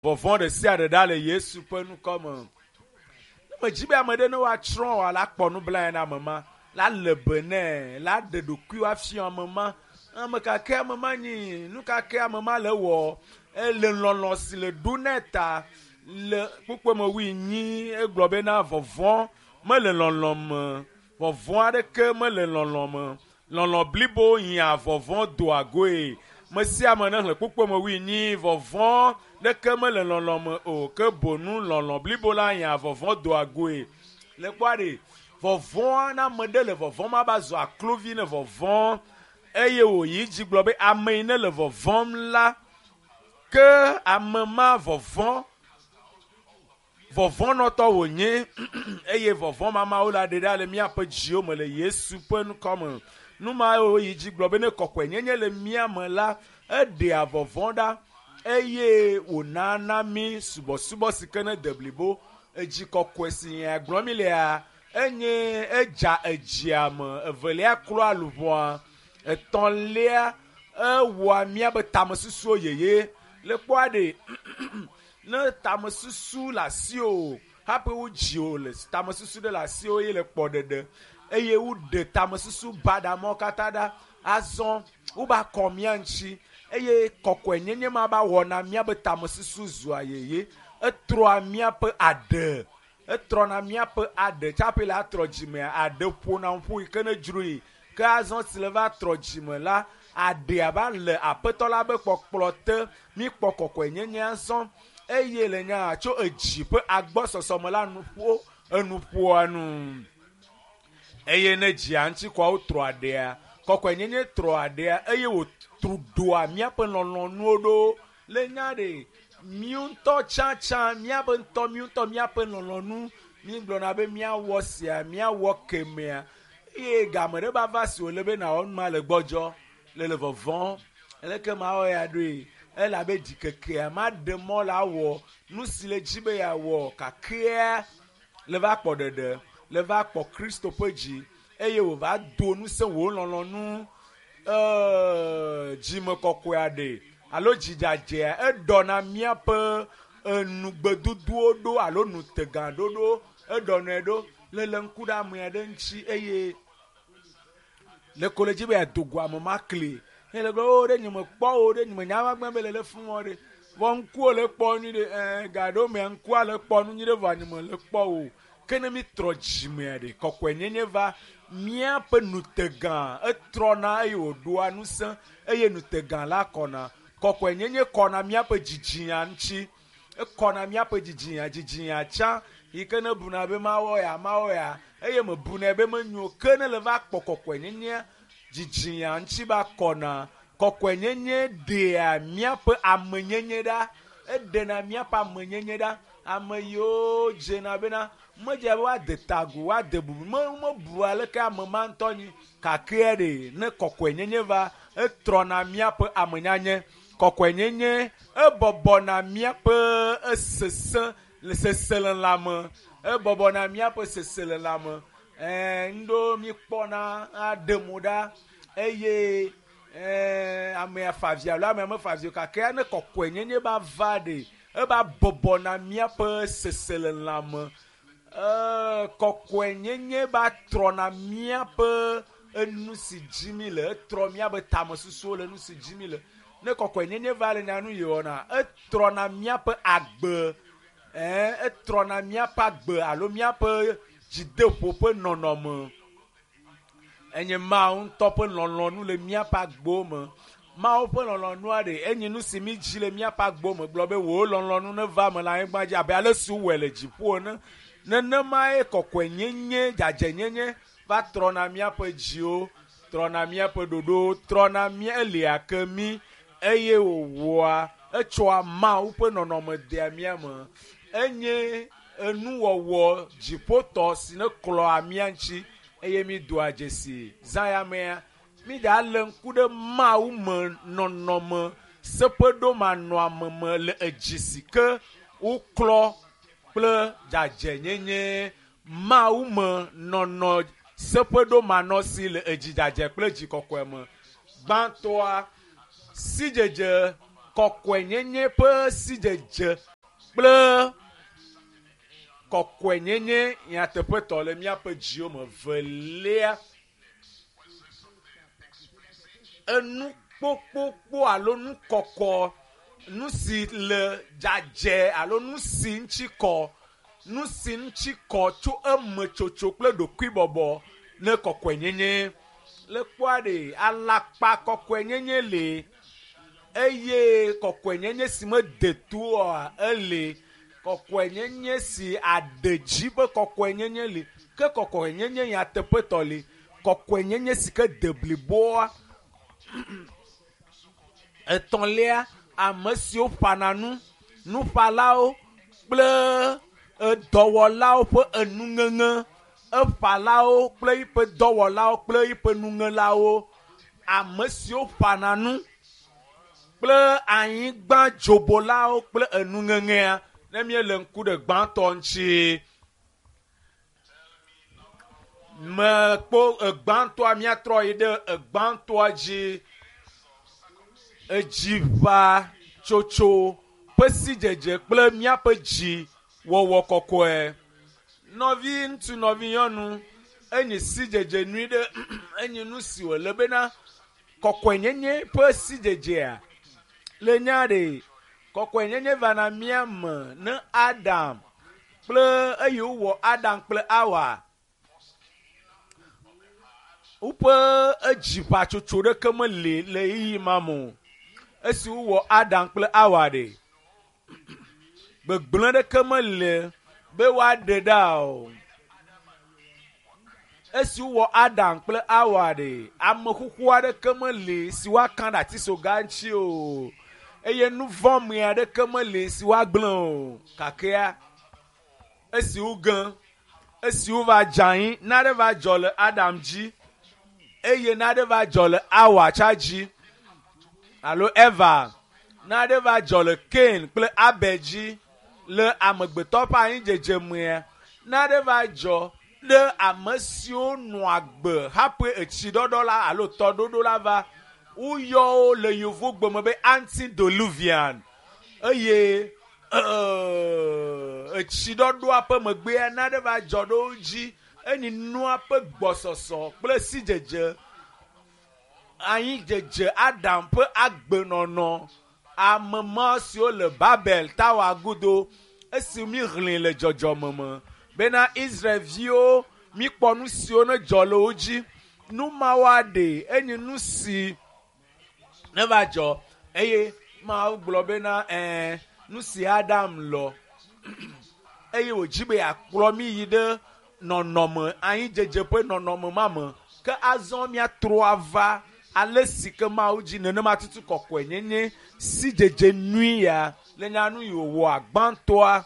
Vɔvɔ̃ ɖe sia ɖe ɖa le Yesu ƒe ŋkɔ me. Ne medzi be ame ɖe ne woatsrɔ̃ wòa, la kpɔ nublanui na ame ma, la le be nɛ, la ɖe ɖokuiwo afia ame ma. Ame ka ke ame ma nyi, nu ka ke ame ma le wɔ, ele lɔlɔ̃ si le ɖo nɛ ta. Le kpukpue me wuienyi egblɔ bena vɔvɔ̃ mele lɔlɔ̃ me, vɔvɔ̃ aɖeke mele lɔlɔ̃ me. Lɔlɔ̃ blibo hiã vɔvɔ̃ doa goe. Me sia ame nexlẽ kpukpue me wuienyi, vɔvɔ̃ ɖeke mele lɔlɔ̃ me o, ke bonu lɔlɔ̃ blibo la hiã vɔvɔ̃ doa goe. Le kpɔa ɖe, vɔvɔ̃a na ame ɖe le vɔvɔ̃m ava zu aklovi ne vɔvɔ̃ eye wòyi dzi gblɔ be ame yi ne le vɔvɔ̃m la, ke ame ma vɔvɔ̃ vɔvɔ̃nɔtɔ wònye eye vɔvɔ̃ mamawo la ɖe ɖa le míaƒe dziwo me le Yesu ƒe ŋkɔ me. Nu ma woyi dzi gblɔ be ne kɔkɔenyenye le mía me la, eɖea vɔvɔ̃ ɖa eye wònana mí subɔsubɔ si ke ne de blibo. Edzi kɔkɔe si nya gblɔm mi lea, enye edza edzia me, evelia klɔa luʋɔa, etɔ̃lia ewɔa míabe tamesusuwo yeye. Le kpɔa ɖe ne tamesusu le asiwò hafi wodzi wò le tamesusu ɖe le asiwò ye le kpɔ ɖeɖe eye woɖe tamesusu baɖa mawo katã ɖa. Azɔ woba kɔ mía ŋuti eye kɔkɔenyenye ma ba wɔna míabe tamesusu zua yeye. Etrɔa míaƒe aɖe, etrɔna míaƒe aɖe tsaƒe le atrɔ dzimea aɖe ƒona ƒu yi ke ne dzroe. Ke azɔ si le va trɔ dzime la, aɖea va le aƒetɔ la be kpɔkplɔ te. Míkpɔ kɔkɔenyenye azɔ eye le nya tso edzi ƒe agbɔsɔsɔ me la nuƒo enuƒoa nu. Eye ne dzia ŋuti kɔa wotrɔ aɖea, kɔkɔenyenye trɔ aɖea eye wòtru ɖoa míaƒe lɔlɔ̃nuwo ɖo. Le nya ɖe, míwo ŋutɔ tsãtsã, míabe ŋutɔ míwo ŋutɔ míaƒe lɔlɔ̃nu, mígblɔna be míawɔ sia, míawɔ kemea eye game ɖe va va si wòle be nawɔ nu ma le gbɔdzɔ, le le vɔvɔ̃. Aleke mawɔ ya ɖoe? Elabe ɖikekea maɖe mɔ la wɔ nu si le dzi be yeawɔ kakea le va kpɔ ɖeɖe, le va kpɔ Kristo ƒe dzi eye wòva do ŋusẽ wò lɔlɔ̃nu dzime kɔkɔea ɖe alo dzidzadzea eɖɔna míaƒe enugbedodowo ɖo alo nutegã ɖoɖo eɖɔnɛ ɖo le le ŋku ɖe amea ɖe ŋuti eye le ko le dzi be yeado go ame ma kli eye le gblɔ o ɖe nye mekpɔ o ɖe nye menya va gbe be le le fún wɔ ɖe vɔ ŋkuwo le kpɔ nyui ɖe ɛɛ ga ɖewo mea ŋkua le kpɔ nu nyui ɖe vɔa nye me le kpɔ o ke ne mi trɔ dzimea ɖe kɔkɔenyenye va míaƒe nutegã etrɔna eye wòɖoa ŋusẽ eye nutegã la kɔna kɔkɔenyenye kɔna míaƒe dzidzinya ŋuti ekɔna míaƒe dzidzinya dzidzinya tsã yi ke ne buna be mawɔ ya mawɔ ya eye mebunɛ be menyo ke ne le va kpɔ kɔkɔenyenye dzidzinya ŋuti va kɔna kɔkɔenyenye ɖea míaƒe amenyenye ɖa eɖena míaƒe amenyenye ɖa ame yiwo dzena bena medze be woade ta agu woade bubu me mebu aleke ame ma ŋutɔ nyi kakea ɖe ne kɔkɔenyenye va etrɔna míaƒe amenyanye kɔkɔenyenye ebɔbɔna míaƒe esesẽ le seselelãme ebɔbɔna míaƒe seselelãme ɛɛ ŋɖewo míkpɔna aɖe mo ɖa eye ɛɛ amea fa avi alo amea mefa avi o kakea ne kɔkɔenyenye ba va ɖe eva bɔbɔna míaƒe seselelãme ɛɛ kɔkɔenyenye va trɔna míaƒe enu si dzi mi le etrɔ míaƒe tamesusuwo le nu si dzi mi le ne kɔkɔenyenye va le nyanu yi wɔna etrɔna míaƒe agbe ɛɛ etrɔna míaƒe agbe alo míaƒe dzideƒo ƒe nɔnɔme enye Mawu ŋutɔ ƒe lɔlɔ̃nu le míaƒe agbewo me. Mawu ƒe lɔlɔ̃nua ɖe enye nu si mi dzi le míaƒe agbewo me gblɔ be wò lɔlɔ̃nu neva eme le anyigba dzi abe ale si wowɔe le dziƒo ene. Nenemae kɔkɔenyenye, dzadzɛnyenye va trɔna míaƒe dziwo, trɔna míaƒe ɖoɖowo, trɔna mía elia ke mí eye wòwɔa etsɔa Mawu ƒe nɔnɔme dea mía me. Enye enuwɔwɔ dziƒotɔ si ne klɔa mía ŋuti eye mi doa dzesi zã ya mea mi ɖa le ŋku ɖe Mawu me nɔnɔme seƒeɖomanɔame me le edzi si ke woklɔ kple dzadzɛnyenye Mawu me nɔnɔ seƒeɖomanɔsi le edzi dzadzɛ kple dzi kɔkɔe me. Gbãtɔa sidzedze kɔkɔenyenye ƒe sidzedze. kple kɔkɔenyenye nyateƒetɔ le míaƒe dziwo me. Velia, enu kpokpokpo alo nu kɔkɔ, nu si le dzadzɛ alo nu si ŋuti kɔ, nu si ŋuti kɔ tso emetsotso kple ɖokuibɔbɔ ne kɔkɔenyenye. Le kpɔa ɖe, alakpa kɔkɔenyenye le eye kɔkɔenyenye si mede to oa ele. Kɔkɔenyenye si aɖe dzi ƒe kɔkɔenyenye li, ke kɔkɔenyenye nyateƒetɔ li. Kɔkɔenyenye si ke de bliboa. Etɔ̃lia, ame siwo ƒana nu, nuƒalawo kple dɔwɔlawo ƒe enuŋeŋe. Eƒalawo kple yiƒe dɔwɔlawo kple yiƒe nuŋelawo. Ame siwo ƒana nu kple anyigba dzobolawo kple enuŋeŋea. Ne míele ŋku ɖe gbãtɔ ŋuti, mekpɔ egbãtɔa, míatrɔ yi ɖe egbãtɔa dzi. Edziʋa tsotso ƒe sidzedze kple míaƒe dzi wɔwɔ kɔkɔe. Nɔvi ŋutsu, nɔvi nyɔnu, enyi sidzedze nyui ɖe, enyi nu si wòle bena kɔkɔenyenye ƒe sidzedzea le nya ɖe. Kɔkɔenyenye vana mía me ne Adam kple eyi wowɔ Adam kple Awa woƒe edziʋatsotso ɖeke meli le ɣeyiɣi ma me o. Esi wowɔ Adam kple Awa ɖe, gbegblẽ ɖeke meli be woaɖe ɖa o. Esi wowɔ Adam kple Awa ɖe, ame xoxo aɖeke meli si woaka ɖe atisoga ŋuti o eye nu vɔ̃ me aɖeke meli si woagblẽ o. Kakea esi woge, esi wova dze anyi, nane va dzɔ le Adam dzi eye nane va dzɔ le Awa tsa dzi alo Eva, nane va dzɔ le Cain kple Abel dzi le amegbetɔ ƒe anyidzedze mea, nane va dzɔ ɖe ame siwo nɔa agbe hafi etsiɖɔɖɔ la alo tɔɖoɖo la va. Woyɔ wo le yevugbe me be antediluvian eye etsiɖɔɖɔa ƒe megbea nane va dzɔ ɖe wo dzi. Enyi nua ƒe gbɔsɔsɔ kple sidzedze, anyidzedze Adam ƒe agbenɔnɔ. Ame ma siwo le Babel Tower godo esi míexlẽe le dzɔdzɔme me bena Israelviwo míkpɔ nu siwo ne dzɔ le wo dzi. Nu mawo aɖe enyi nu si ne va dzɔ eye Mawu gblɔ bena ɛɛ nu si Adam lɔ eye wòdzi be yeakplɔ mí yi ɖe nɔnɔme anyidzedze ƒe nɔnɔme ma me. Ke azɔ míatrɔ ava ale si ke Mawu dzi nenema tutu kɔkɔenyenye sidzedze nyui ya le nyanu yi wòwɔa gbãtɔa.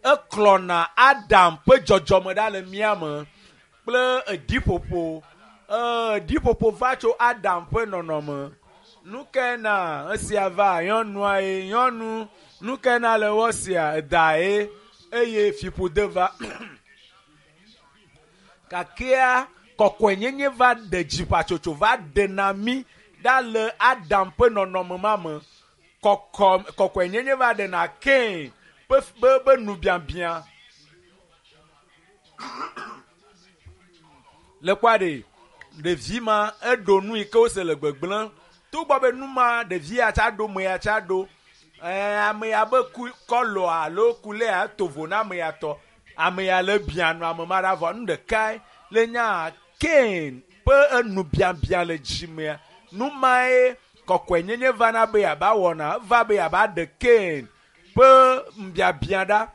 Eklɔna Adam ƒe dzɔdzɔme ɖa le mía me kple eɖiƒoƒo. Eɖiƒoƒo va tso Adam ƒe nɔnɔme. Nu kae na esia va? Nyɔnua ye nyɔnu. Nu kae na le wɔ sia? Eda ye eye fiƒode va. Kakea kɔkɔenyenye va ɖe dziʋatsotso va ɖe na mí ɖa le Adam ƒe nɔnɔme ma me. Kɔkɔenyenye va ɖe na Cain ƒe be nubiabia. Le kpɔa ɖe, ɖevi ma eɖo nu yi ke wose le gbegblẽ. Togbɔ be nu ma ɖevi ya tsa ɖo, me ya tsa ɖo. Ame ya be ku kɔlɔ alo kulea eto vo na ame ya tɔ. Ame ya le bia nu ame ma ɖa vɔ nu ɖekae le nya Cain ƒe enubiabia le dzimea. Nu mae kɔkɔenyenye vana be yeaba wɔna, eva be yeaba ɖe Cain ƒe nubiabia ɖa.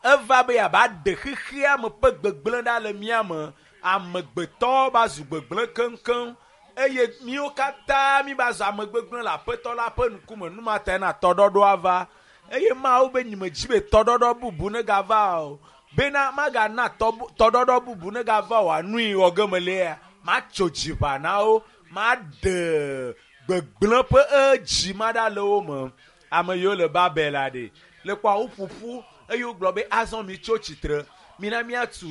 Eva be yeaba ɖe xexea me ƒe gbegblẽ ɖa le mía me. Amegbetɔ va zu gbegblẽ keŋkeŋ eye míwo katã mi va zu ame gbegblẽ le Aƒetɔ la ƒe ŋkume. Nu ma tae na tɔɖɔɖɔa va eye Mawu be nyimedzi be tɔɖɔɖɔ bubu negava o. Bena magana tɔɖɔɖɔ bubu negava o anui wɔ ge melia, matso dziʋa na wo, maɖe gbegblẽ ƒe edzi ma ɖa le wo me. Ame yiwo le Babel la ɖe le kpɔa wo ƒoƒu eye wogblɔ be azɔ mi tso tsitre, mina míatu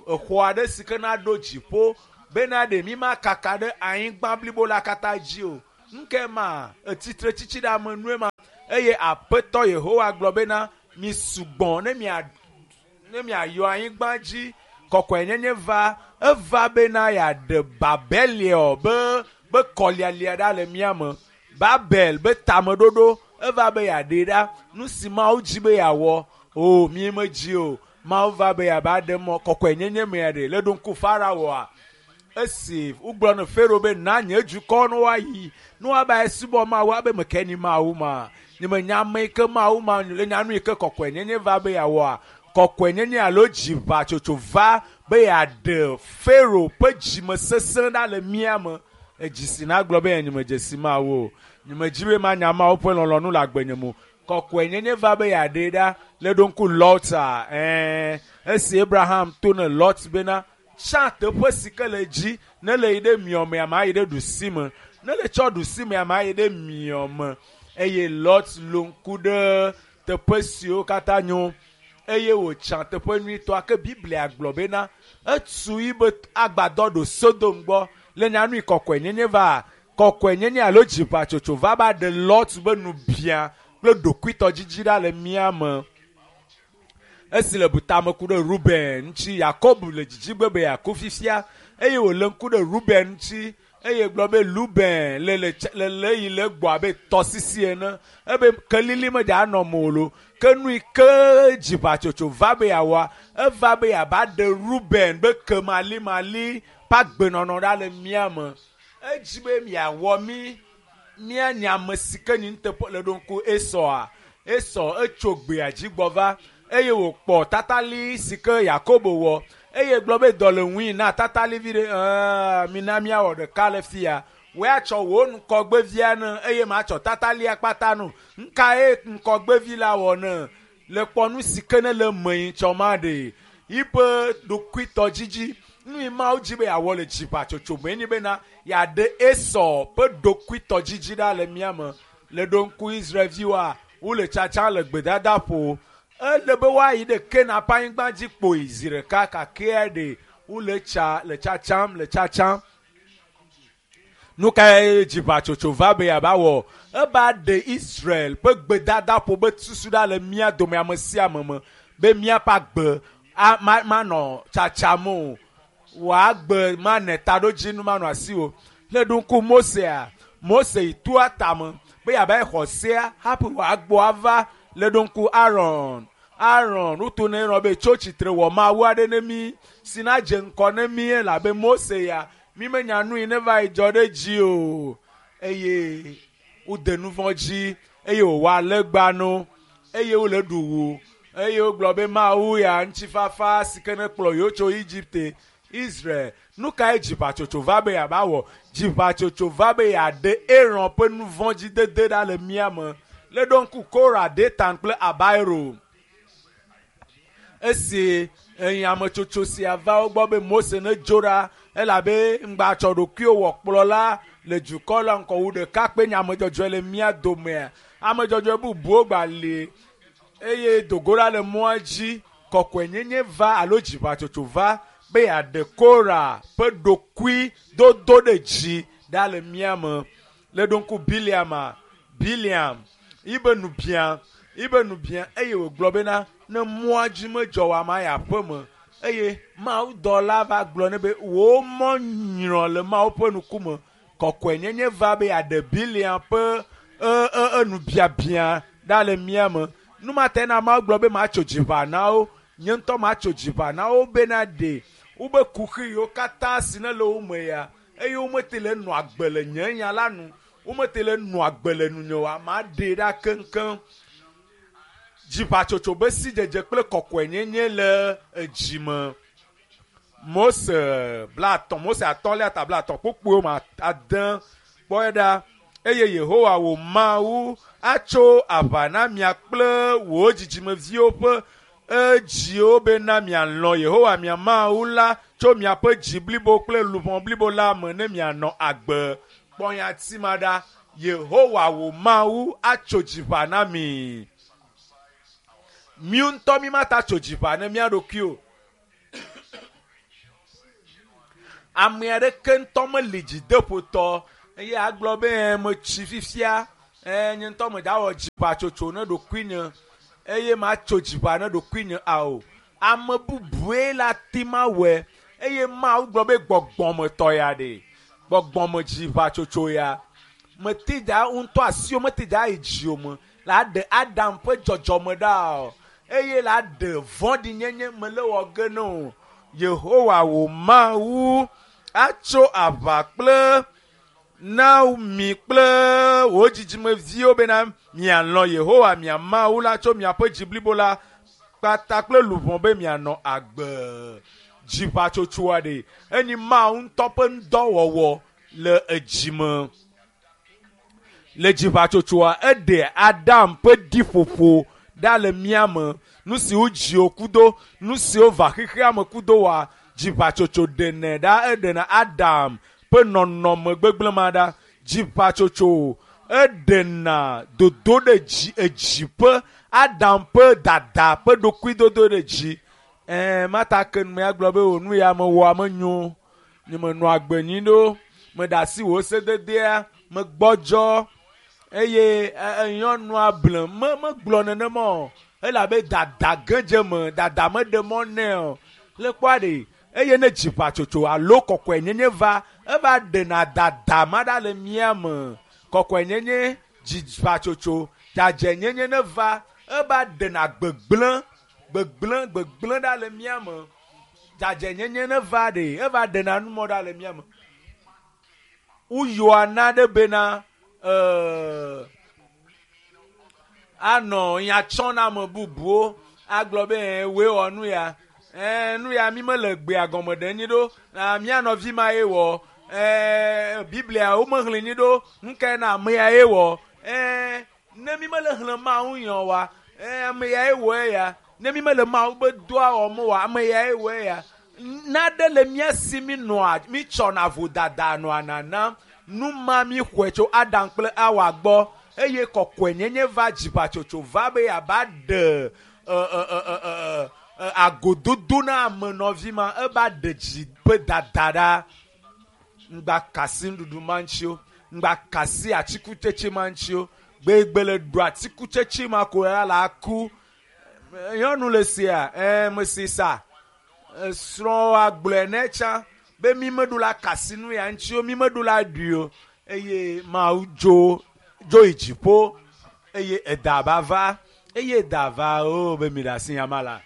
exɔ aɖe si ke naɖo dziƒo bena ɖe mi ma kaka ɖe anyigba blibo la katã dzi o. Nu kae ma? Etsitre tsitsi ɖe ame nue ma. Eye Aƒetɔ Yehowa gblɔ bena, mi sugbɔ ne mia ne miayɔ anyigba dzi. Kɔkɔenyenye va, eva bena yeaɖe Babeliɔ be be kɔlialia ɖa le mía me. Babel be tameɖoɖo eva be yeaɖee ɖa. Nu si Mawu dzi be yeawɔ, o mi medzi o. Mawu va be yeava ɖe mɔ kɔkɔenyenye mea ɖe. Le ɖo ŋku Faraoa. Esi wogblɔ ne Farao be na nye dukɔ ne woayi, ne woava subɔ Mawu abe meke ni Mawu ma. Nye menya ame yi ke Mawu ma le nya nu yi ke kɔkɔenyenye va be yeawɔa. Kɔkɔenyenye alo dziʋatsotso va be yeaɖe Farao ƒe dzimesesẽ ɖa le mía me. Edzi si nagblɔ be nye medze si Mawu o. Nye medzi be manya Mawu ƒe lɔlɔ̃nu le agbenye me o. Kɔkɔenyenye va be yeaɖee ɖa. Le ɖo ŋku Lot-a, ɛɛ, esi Abraham to ne Lot bena, tsã teƒe si ke le dzi, ne le yi ɖe miɔmea, ma yi ɖe ɖusime. Ne le tsɔ ɖusimea, ma yi ɖe miɔme. Eye Lot lo ŋku ɖe teƒe siwo katã nyo eye wòtsã teƒe nyuitɔa. Ke Biblia gblɔ bena etu yibe agbadɔ ɖo Sodom gbɔ. Le nyanui kɔkɔenyenye va, kɔkɔenyenye alo dziʋatsotso va ba ɖe Lot be nubia kple ɖokuitɔdzidzi ɖa le mía me. Esi le butame ku ɖe Ruben ŋuti, Yakob le dzidzigbe be yeaku fifia eye wòle ŋku ɖe Ruben ŋuti eye gblɔ be Ruben le le le le yi le gbɔ abe tɔsisi ene. Ebe kelili medza anɔ me o lo. Ke nu yi ke dziʋatsotso va be yeawɔa, eva be yeava ɖe Ruben be kemalimali ƒe agbenɔnɔ ɖa le mía me. Edzi be miawɔ mí míanye ame si ke nyi nuteƒe le ɖo ŋku Esɔa. Esɔ etso gbea dzi gbɔ va eye wòkpɔ tatali si ke Yakobo wɔ eye gblɔ be dɔ le ŋui na tatali vi ɖe. Ɛɛ, mina míawɔ ɖeka le fia. Woatsɔ wò ŋkɔgbevia ne eye matsɔ tatalia kpata no. Ŋkae ŋkɔgbevi la wɔ ne? Le kpɔ nu si ke ne le me yi tsɔ ma ɖe. Yiƒe ɖokuitɔdzidzi. Nu yi Mawu dzi be yeawɔ le dziʋatsotso me nye bena yeaɖe Esɔ ƒe ɖokuitɔdzidzi ɖa le mía me. Le ɖo ŋku Israelviwoa, wole tsatsa le gbedadaƒo. Ele be woayi ɖe Kanaan ƒe anyigba dzi kpoyi zi ɖeka kakea ɖe wole tsa le tsatsam le tsatsam. Nu kae dziʋatsotso va be yeava wɔ? Eva ɖe Israel ƒe gbedadaƒo be susu ɖa le mía dome ame sia ame me be míaƒe agbe manɔ tsatsam o. Wòagbe mane taɖodzinu manɔ asiwò. Le ɖo ŋku Mosea, Mose yi toa tame be yeava yi xɔ sea hafi wòagbɔ ava. Le ɖo ŋku Aaron. Aaron, woto ne Aaron be tso tsitre wɔ mawu aɖe ne mí si nadze ŋkɔ ne mí elabe Mose ya mi menya nu yi ne va yi dzɔ ɖe dzi o. Eye wode nu vɔ̃ dzi eye wòwɔ alegba no eye wole ɖu wu eye wogblɔ be Mawu ya ŋutifafa si ke ne kplɔ yewo tso Egipte. Israel, nu kae dziʋatsotso va be yeava wɔ? Dziʋatsotso va be yeaɖe Aaron ƒe nu vɔ̃ dzi dede ɖa le mía me. Le ɖo ŋku Kora, Datan kple Abiram. Esi nyametsotso sia va wo gbɔ be Mose nedzo ɖa elabe ŋgbatsɔ ɖokuiwo wɔ kplɔla le dukɔ la ŋkɔ wu ɖeka kpe nye amedzɔdzɔe le mía domea. Amedzɔdzɔe bubuwo gba li eye dogo ɖa le mɔa dzi. Kɔkɔenyenye va alo dziʋatsotso va be yeaɖe Kora ƒe ɖokui dodo ɖe dzi ɖa le mía me. Le ɖo ŋku Biliama, Biliam, yibe nubia, yibe nubia eye wògblɔ bena ne mɔa dzi medzɔ o ama yi aƒe me. Eye Mawudɔla va gblɔ nɛ be wò mɔ nyrɔ le Mawu ƒe ŋkume. Kɔkɔenyenye va be yeaɖe Biliam ƒe enubiabia ɖa le mía me. Nu ma ta na Mawu gblɔ be matso dziʋa na wo. Nye ŋutɔ matso dziʋa na wo bena ɖe wobe kuxi yiwo katã si ne le wo me ya eye womete le nɔ agbe le nye nya la nu, womete le nɔ agbe le nunye oa, maɖee ɖa keŋkeŋ. Dziʋatsotso be sidzedze kple kɔkɔenyenye le edzi me. Mose 30, Mose atɔ̃lia ta 30 kpukpuiwo me ade kpɔe ɖa. Eye Yehowa wò Mawu atso aʋa na mia kple wò dzidzimeviwo ƒe edziwo bena mialɔ̃ Yehowa mia Mawu la tso miaƒe dzi blibo kple luʋɔ blibo la me ne mianɔ agbe. Kpɔ nyati ma ɖa. Yehowa wò Mawu atso dziʋa na mi. Mi ŋutɔ mi mata tso dziʋa ne mía ɖokui o. Ame aɖeke ŋutɔ meli dzideƒotɔ eye agblɔ be metsi fifia. Nye ŋutɔ medza wɔ dziʋatsotso ne ɖokuinye eye matso dziʋa ne ɖokuinye ao. Ame bubue la ti ma wɔe eye Mawu gblɔ be gbɔgbɔmetɔ ya ɖe. Gbɔgbɔme dziʋatsotso ya. Meti dza ŋutɔ asiwo meti dza yi dziwò me la ɖe Adam ƒe dzɔdzɔme ɖa o eye la ɖe vɔ̃ɖinyenye me le wɔ ge ne o. Yehowa wò Mawu atso aʋa kple na mi kple wò dzidzimeviwo bena mialɔ̃ Yehowa mia Mawu la tso miaƒe dzi blibo la kpata kple luʋɔ be mianɔ agbe. Dziʋatsotsoa ɖe enyi Mawu ŋutɔ ƒe ŋudɔwɔwɔ le edzime. Le dziʋatsotsoa eɖe Adam ƒe ɖiƒoƒo ɖa le mía me. Nu siwo dziwo kudo, nu siwo va xexea me kudo wa dziʋatsotso ɖenɛ ɖa eɖena Adam ƒe nɔnɔme gbegblẽ ma ɖa. Dziʋatsotso eɖena dodo ɖe dzi edzi ƒe Adam ƒe dada ƒe ɖokuidodo ɖe dzi. Mata ke nu ya gblɔ be o nu ya mewɔa menyo. Nye menɔ agbe nyui ɖo. Meɖe asi wò sededea megbɔdzɔ eye nyɔnua ble megblɔ nenema o. Elabe dada gedze me dada meɖe mɔ nɛ o. Le kpɔa ɖe eye ne dziʋatsotso alo kɔkɔenyenye va eva ɖena dada ma ɖa le mía me. Kɔkɔenyenye dziʋatsotso dzadzɛnyenye ne va eva ɖena gbegblẽ gbegblẽ gbegblẽ ɖa le mía me. Dzadzɛnyenye ne va ɖe eva ɖena numɔ ɖa le mía me. Woyɔa na ɖe bena anɔ nya tsɔm na ame bubuwo agblɔ be woe wɔ nu ya. Nu ya mi mele gbea gɔme ɖe nyi ɖo. Mía nɔvi ma ye wɔ. Biblia wo mexlẽ nyi ɖo. Nu kae na ame ya ye wɔ? Ne mi mele xlẽ Mawu nyɔ wa, ame ya ye wɔ eya. Ne mi mele Mawu be doa wɔm wa, ame ya ye wɔ eya. Naɖe le mía si mi nɔa mi tsɔna vodada nɔa nanam. Nu ma mi xɔe tso Adam kple Awa gbɔ eye kɔkɔenyenye va dziʋatsotso va be yeava ɖe agododo na ame nɔvi ma eva ɖe dzi ƒe dada ɖa. Ŋgba kasi nuɖuɖu ma ŋuti o. Ŋgba kasi atikutsetse ma ŋuti o. Gbegbe le ɖu atikutsetse ma ko ya la ku. Nyɔnu le sia mesi sa. Srɔ̃a gblɔe ne tsã be mi meɖo la kasi nu ya ŋuti o, mi meɖo la ɖui o. Eye Mawu dzo dzo yi dziƒo eye eda ba va eye eda va o be mi ɖe asi nyama la.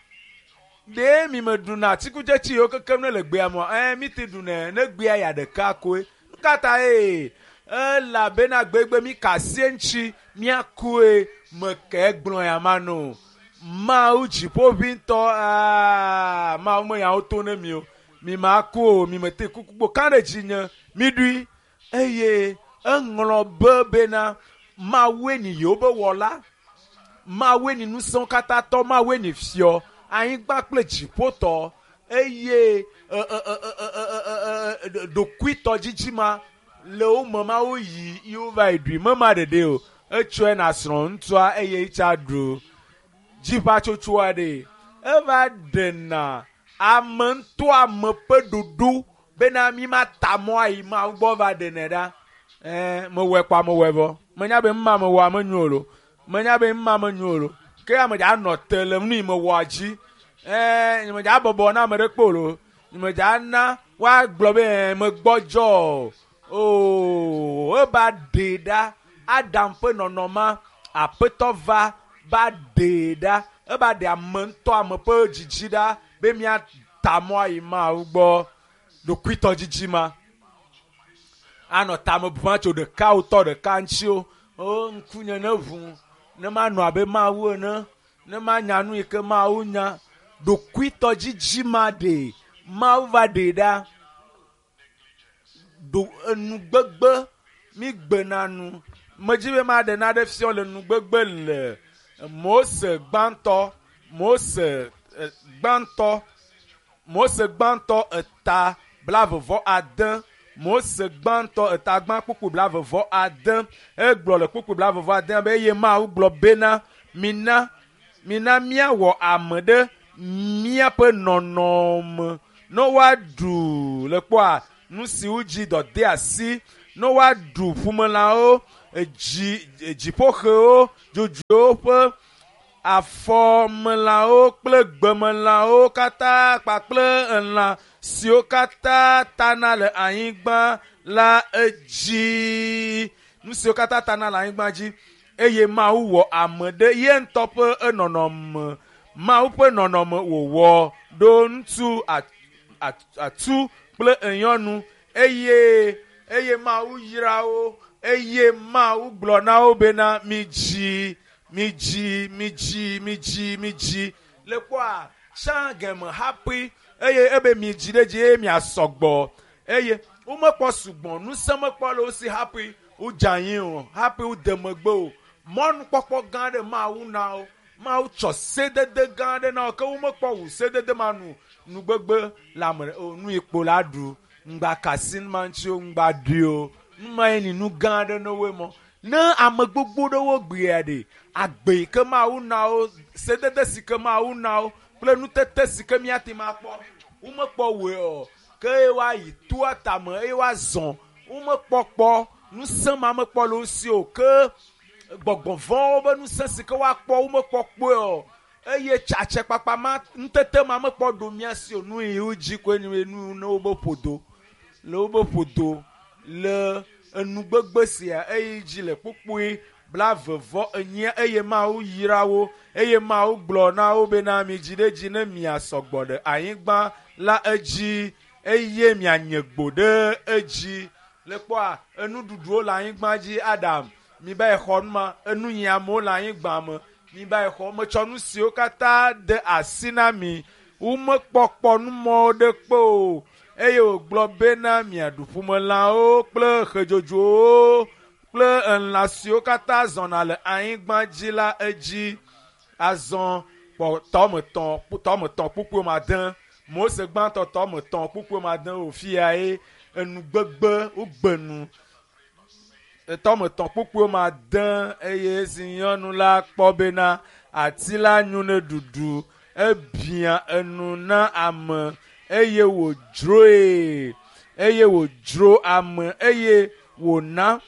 Ɖe mi meɖuna atikutsetse yiwo kekem ne le gbea me mi te ɖunɛ ne gbea ya ɖeka koe. Nu ka ta ye? Elabena gbegbe mi kasi eŋuti míakoe meke gblɔ ya ma no. Mawu dziƒoʋĩtɔ Mawu me yawo to ne mi o. Mi ma ku o, mi mete kuku gbo ka ɖe dzi nye mi ɖui eye eŋlɔ be bena Mawue nyi yewo be wɔla. Mawue nyi ŋusẽwo katã tɔ, Mawue nyi fiɔ, anyigba kple dziƒotɔ eye ɖokuitɔdzidzi ma le wo me Mawu yi yewo va yi ɖui mema ɖeɖe o. Etsɔe na srɔ̃ ŋutsua eye etsa ɖu. Dziʋatsotsoa ɖe eva ɖena ame ŋutɔ ame ƒe ɖoɖo bena mi ma ta mɔ ayi Mawu gbɔ va ɖenɛ ɖa. Mewɔe kpɔ mewɔe vɔ. Menya be mma mewɔa menyo o lo. Menya be mma menyo o lo. Ke ame dza nɔ te le nu yi mewɔa dzi. Nye medza bɔbɔ na ame ɖe kpo o lo. Nye medza na woagblɔ be megbɔdzɔ o. Oo, eva ɖee ɖa. Adam ƒe nɔnɔma aƒetɔ va va ɖee ɖa. Eva ɖe ame ŋutɔ ame ƒe dzidzi ɖa be míata mɔ ayi Mawu gbɔ. Ɖokuitɔdzidzi ma anɔ tame bum atso ɖeka wotɔ ɖeka ŋuti o. O ŋkunye ne ʋu ne manɔ abe Mawu ene ne manya nu yi ke Mawu nya. Ɖokuitɔdzidzi ma ɖe Mawu va ɖee ɖa. Ɖo enugbegbe mi gbena nu. Medzi be maɖe naɖe fiɔ le nugbegbe le Mose gbãtɔ Mose gbãtɔ Mose gbãtɔ eta 26 Mose gbãtɔ eta gbã kpukpui 26 egblɔ le kpukpui 26 be eye Mawu gblɔ bena mina míawɔ ame ɖe míaƒe nɔnɔme ne woaɖu le kpɔa nu siwo dzi dɔ de asi ne woaɖu ƒumelãwo Edzi dziƒoxewo dzodzoewo ƒe afɔmelãwo kple gbemelãwo katã kpakple elã siwo katã tana le anyigba la edzi. Nu siwo katã tana le anyigba dzi eye Mawu wɔ ame ɖe ye ŋutɔ ƒe enɔnɔme. Mawu ƒe nɔnɔme wòwɔ ɖo ŋutsu atu kple nyɔnu eye eye Mawu yra wo eye Mawu gblɔ na wo bena midzi midzi midzi midzi midzi le kpɔa tsã geme hafi eye ebe midzi ɖe dzi eye miasɔgbɔ eye womekpɔ sugbɔ ŋusẽ mekpɔ le wo si hafi wodze anyi o hafi wode megbe o mɔnukpɔkpɔ gã aɖe Mawu na wo. Mawu tsɔ sedede gã aɖe na wo ke womekpɔ wu sedede ma nu nugbegbe le ame o nu yi kpo la ɖu ŋgba kasi nu ma ŋuti o ŋgba ɖui o nu ma ye ni nu gã aɖe ne woe mɔ ne ame gbogbo ɖewo gbea ɖe agbe yi ke Mawu na wo sedede si ke Mawu na wo kple nutete si ke míate ŋu akpɔ womekpɔ wɔe o ke eye woayi toa tame eye woazɔ womekpɔkpɔ ŋusẽ ma mekpɔ le wo si o ke gbɔgbɔvɔ̃wo be ŋusẽ si ke woakpɔ womekpɔkpɔe o eye tsatsɛkpakpa ma nutete ma mekpɔ ɖo mía si o nu yi wo dzi koe nye nu ne wobe ƒodo le wobe ƒodo le enugbegbe sia eye dzi le kpukpui 22 eye Mawu yra wo eye Mawu gblɔ na wo bena midzi ɖe dzi ne miasɔgbɔ ɖe anyigba la edzi eye mianye gbo ɖe edzi. Le kpɔa enuɖuɖuwo le anyigba dzi Adam mi ba xɔ numa enunyiamewo le anyigba me mi ba xɔ metsɔ nu siwo katã de asi na mi womekpɔkpɔ numɔwo ɖe kpe o eye wògblɔ bena miaɖu ƒumelãwo kple xedzodzowo kple elã siwo katã zɔna le anyigba dzi la edzi. Azɔ kpɔ tɔmetɔ̃ kpukpui made Mose gbãtɔ tɔmetɔ̃ kpukpui made wòfia ye enugbegbe wogbe nu tɔmetɔ̃ kpukpui made eye esi nyɔnu la kpɔ bena ati la nyo ne ɖuɖu ebia enu na ame eye wòdzroe eye wòdzro ame eye wòna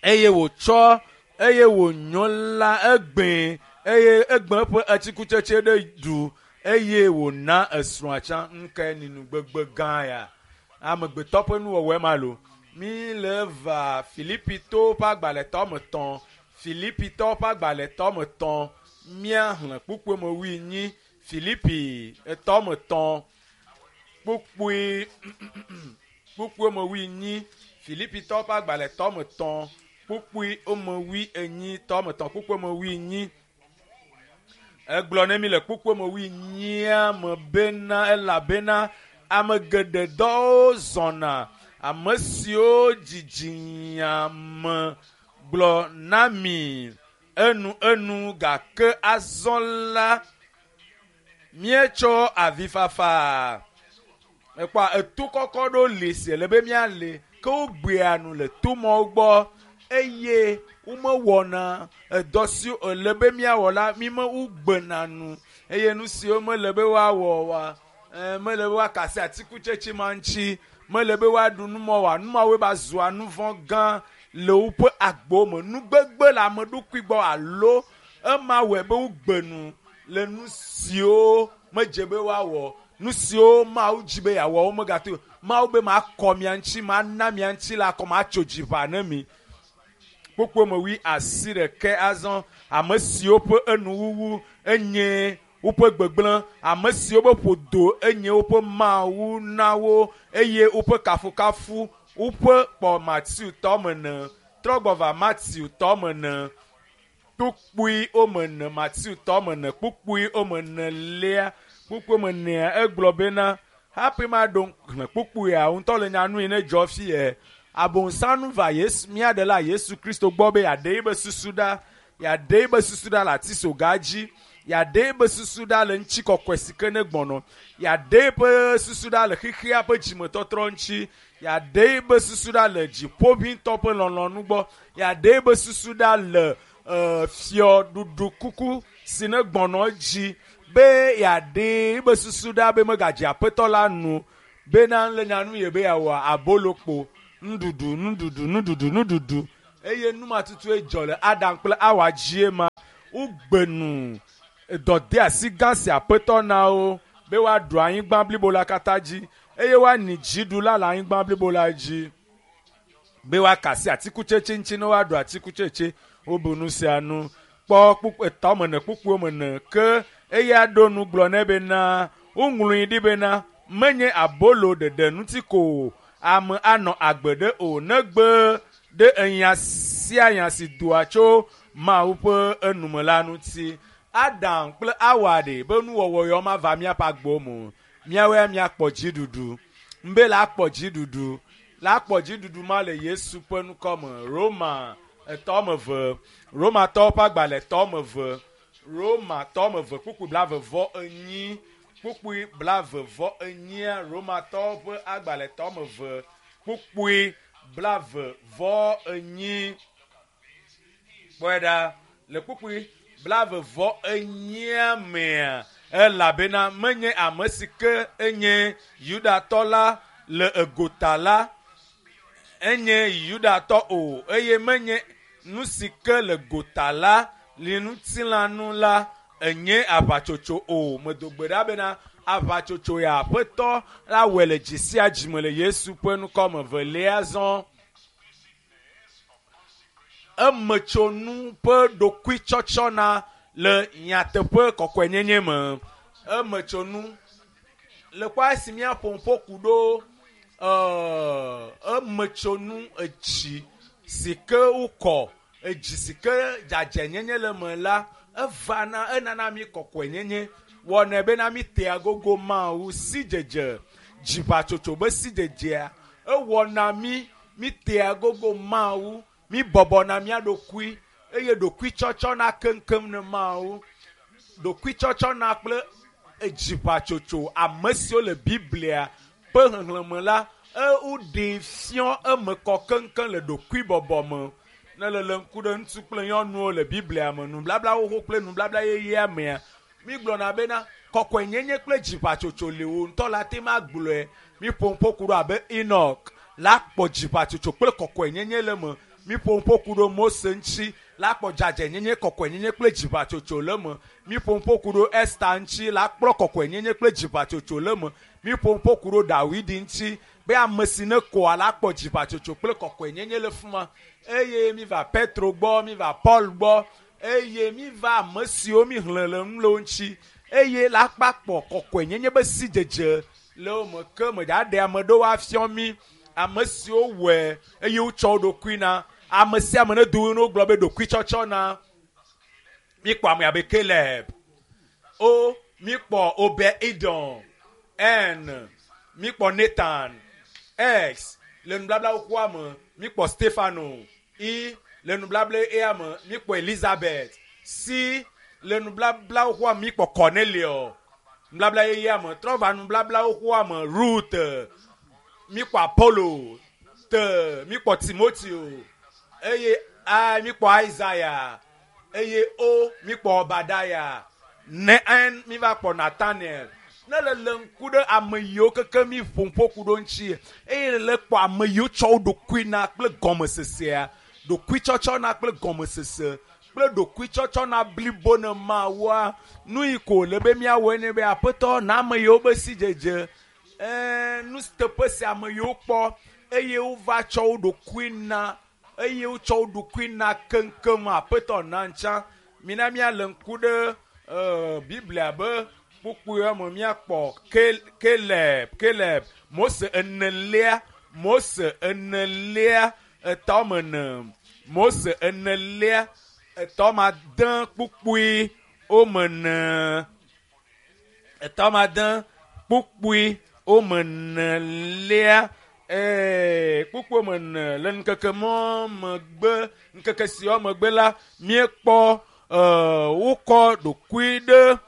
eye wòtsɔ eye wònyo la egbee eye egbe eƒe atikutsetse ɖe ɖu eye wòna esrɔ̃a tsã. Ŋkae ni nugbegbe gã ya amegbetɔ ƒe nuwɔwɔe ma lo. Mi le va Filipitɔwo ƒe agbalẽ tɔmetɔ̃ Filipitɔwo ƒe agbalẽ tɔmetɔ̃ míaxlẽ kpukpui me wuienyi Filipi tɔmetɔ̃ kpukpui kpukpui me wuienyi Filipitɔwo ƒe agbalẽ tɔmetɔ̃ kpukpui me wuienyi tɔmetɔ̃ kpukpui me wuienyi. Egblɔ ne mi le kpukpui me wuienyia me bena elabena ame geɖe dɔwo zɔna ame siwo dzidzinya me gblɔ na mi enu enu gake azɔ la míetsɔ avifafa ekpɔ eto kɔkɔ ɖo li si ele be míali ke wogbea nu le tomɔwo gbɔ eye womewɔna edɔ si ele be míawɔ la mime wogbena nu eye nu siwo mele be woawɔ wa mele be woakasi atikutsetse ma ŋuti mele be woaɖu numɔ wa numawoe ba zua nu vɔ̃ gã le woƒe agbewo me. Nugbegbe le ame ɖokui gbɔ alo ema wɔe be wogbe nu le nu siwo medze be woawɔ nu siwo Mawu dzi be yeawɔ wo megate Mawu be makɔ mia ŋuti mana mia ŋuti la akɔ matso dziʋa ne mi. Kpukpui me 86 azɔ ame siwo ƒe enuwuwu enye woƒe gbegblẽ ame siwo be ƒodo enye woƒe Mawu na wo eye woƒe kafukafu woƒe kpɔ Matiu tɔmene trɔgbɔ va Matiu tɔmene kpukpui womene Matiu tɔmene kpukpui womene lia kpukpui womenea egblɔ bena hafi maɖo xlẽ kpukpuia ŋutɔ le nyanu yi ne dzɔ fi Abosam va Yesu mía ɖela Yesu Kristo gbɔ be yeaɖe yibe susu ɖa yeaɖe yibe susu ɖa le atisoga dzi yeaɖe yibe susu ɖa le ŋutikɔkɔe si ke ne gbɔnɔ yeaɖe yiƒe susu ɖa le xexea ƒe dzimetɔtrɔ ŋuti yeaɖe yibe susu ɖa le dziƒoʋĩtɔ ƒe lɔlɔ̃nu gbɔ yeaɖe yibe susu ɖa le fiɔɖuɖu kuku si ne gbɔnɔ dzi be yeaɖe yibe susu ɖa be megadze aƒetɔ la nu bena le nyanu ye be yeawɔ abolokpo nuɖuɖu nuɖuɖu nuɖuɖu nuɖuɖu. Eye nu ma tutue dzɔ le Adam kple Awa dzie ma. Wogbe nu dɔdeasi gã si Aƒetɔ na wo be woaɖu anyigba blibo la katã dzi eye woani dziɖula le anyigba blibo la dzi. Be woaka asi atikutsetse ŋuti ne woaɖu atikutsetse. Wobu nu sia nu. Kpɔ kpukpu etɔ me ene kpukpuiwo me ene ke eya ɖo nu gblɔ nɛ bena woŋlɔe ɖi bena menye abolo ɖeɖe ŋuti ko ame anɔ agbe ɖe o negbe ɖe enya sia nya si doa tso Mawu ƒe enume la ŋuti. Adam kple Awa ɖe be nuwɔwɔ yawo mava míaƒe agbewo me o. Míawoe míakpɔ dziɖuɖu. Mbe la kpɔ dziɖuɖu. La kpɔ dziɖuɖu ma le Yesu ƒe ŋkɔ me. Roma etɔ me ve. Romatɔwo ƒe agbalẽ etɔ me ve. Romatɔ me ve kpukpui blaeve vɔ enyi. Kpukpui blaeve vɔ enyia Romatɔwo ƒe agbalẽ etɔ me ve. Kpukpui blaeve vɔ enyi. Kpɔe ɖa le kpukpui blaeve vɔ enyia mea elabena menye ame si ke enye Yudatɔ la le egota la enye Yudatɔ o eye menye nu si ke le gota la le ŋutilãnu la enye aʋatsotso o. Medo gbe ɖa bena aʋatsotso ya Aƒetɔ la wɔe le dzi sia dzi me le Yesu ƒe ŋkɔ me. Velia zɔ emetsonu ƒe ɖokuitsɔtsɔna le nyateƒe kɔkɔenyenye me. Emetsonu le kpɔ esi míaƒo ƒo ku ɖo emetsonu etsi si ke wokɔ edzi si ke dzadzɛnyenye le me la evana enana mi kɔkɔenyenye wɔnɛ bena mi tea gogo Mawu sidzedze dziʋatsotso be sidzedzea ewɔna mi mi tea gogo Mawu mi bɔbɔna mía ɖokui eye ɖokuitsɔtsɔna keŋkeŋ ne Mawu ɖokuitsɔtsɔna kple edziʋatsotso ame siwo le Biblia ƒe xexlẽme la ewoɖee fiɔ eme kɔ keŋkeŋ le ɖokuibɔbɔ me. Ne le le ŋku ɖe ŋutsu kple nyɔnuwo le Biblia me nublabla xoxo kple nublabla yeyea mea mi gblɔna bena kɔkɔenyenye kple dziʋatsotso le wo ŋutɔ la te ma gblɔe. Mi ƒo ƒo ku ɖo abe Enoch la kpɔ dziʋatsotso kple kɔkɔenyenye le me. Mi ƒo ƒo ku ɖo Mose ŋuti la kpɔ dzadzɛnyenye kɔkɔenyenye kple dziʋatsotso le me. Mi ƒo ƒo ku ɖo Esta ŋuti la kplɔ kɔkɔenyenye kple dziʋatsotso le me. Mi ƒo ƒo ku ɖo Dawidi ŋuti be ame si ne kɔa la kpɔ dziʋatsotso kple kɔkɔenyenye le fima. Eye mi va Petro gbɔ, mi va Paul gbɔ, eye mi va ame siwo mi xlẽ le nu le wo ŋuti eye la kpa kpɔ kɔkɔenyenye be sidzedze le wo me ke me dza ɖe ame ɖewo afiɔ mi ame siwo wɔe eye wotsɔ wo ɖokui na ame sia ame ne do ne wogblɔ be ɖokuitsɔtsɔ na mi kpɔ ame abe Caleb O mi kpɔ Obed Edom N mi kpɔ Nathan X le nublabla xoxoa me mi kpɔ Stefano I le nublabla ea me mi kpɔ Elizabeth C le nublabla xoxoa me mi kpɔ Cornelio nublabla yeyea me trɔ va nublabla xoxoa me Ruth mi kpɔ Apollo T mi kpɔ Timoteo eye A mi kpɔ Isaiah eye O mi kpɔ Obadiah ne N mi va kpɔ Nathaniel. Ne le le ŋku ɖe ame yiwo keke mi ƒo ƒo ku ɖo ŋuti eye le le kpɔ ame yiwo tsɔ wo ɖokui na kple gɔmesesea ɖokuitsɔtsɔ na kple gɔmesese kple ɖokuitsɔtsɔ na blibo ne Mawua nu yi ko le be míawɔe ne be Aƒetɔ na ame yiwo be sidzedze nu teƒe si ame yiwo kpɔ eye wova tsɔ wo ɖokui na eye wotsɔ wo ɖokui na keŋkeŋ Aƒetɔ na ŋtsã mina míale ŋku ɖe Biblia be kpukpuiwo me míakpɔ Caleb Mose enelia Mose enelia etɔ me ne Mose enelia etɔ ma de kpukpui wo me ne etɔ ma de kpukpui wo me nelia kpukpui me ne le ŋkeke mɔ megbe ŋkeke siawo megbe la míekpɔ wokɔ ɖokui ɖe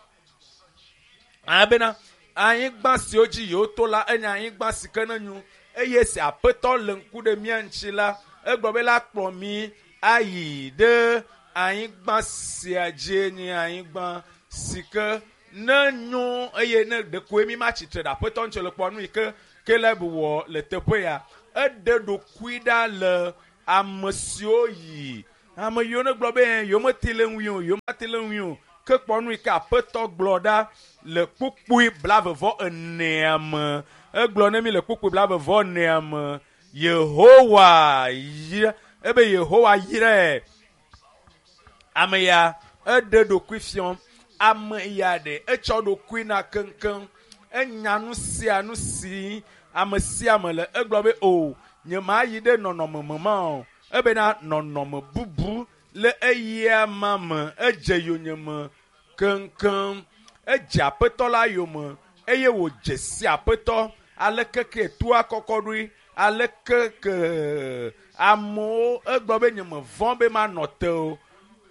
abena anyigba siwo dzi yewo to la enye anyigba si ke ne nyo eye si Aƒetɔ le ŋku ɖe mía ŋuti la egblɔ be la kplɔ mi ayi ɖe anyigba sia dzi nye anyigba si ke ne nyo eye ne ɖekoe mi ma tsitre ɖe Aƒetɔ ŋuti le kpɔ nu yi ke Caleb wɔ le teƒe ya eɖe ɖokui ɖa le Ame siwo yi, ame yiwo ne gblɔ be yewomete le ŋui o, yewomate le ŋui o, ke kpɔ nu yi ke Aƒetɔ gblɔ ɖa le kpukpui 44 me. Egblɔ ne mi le kpukpui 44 me, Yehowa yra, ebe Yehowa yrae. Ame ya eɖe ɖokui fiɔ, ame ya ɖe etsɔ ɖokui na keŋkeŋ. Enya nu sia nu si ame sia ame le. Egblɔ be o, nye ma yi ɖe nɔnɔme me ma o. Ebena nɔnɔme bubu le eya ma me, edze yonyeme keŋkeŋ. Edze Aƒetɔ la yome eye wòdze si Aƒetɔ. Aleke ke toa kɔkɔ ɖoe, aleke ke amewo egblɔ be nye mevɔ̃ be manɔ te o,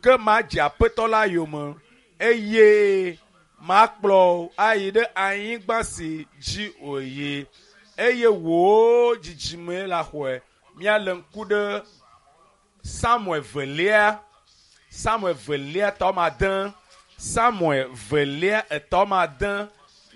ke madze Aƒetɔ la yome eye makplɔ ayi ɖe anyigba si dzi wòyi eye wò dzidzime la xɔe. Míalé ŋku ɖe Samuel velia, Samuel velia tɔ ma de, Samuel velia etɔ ma de,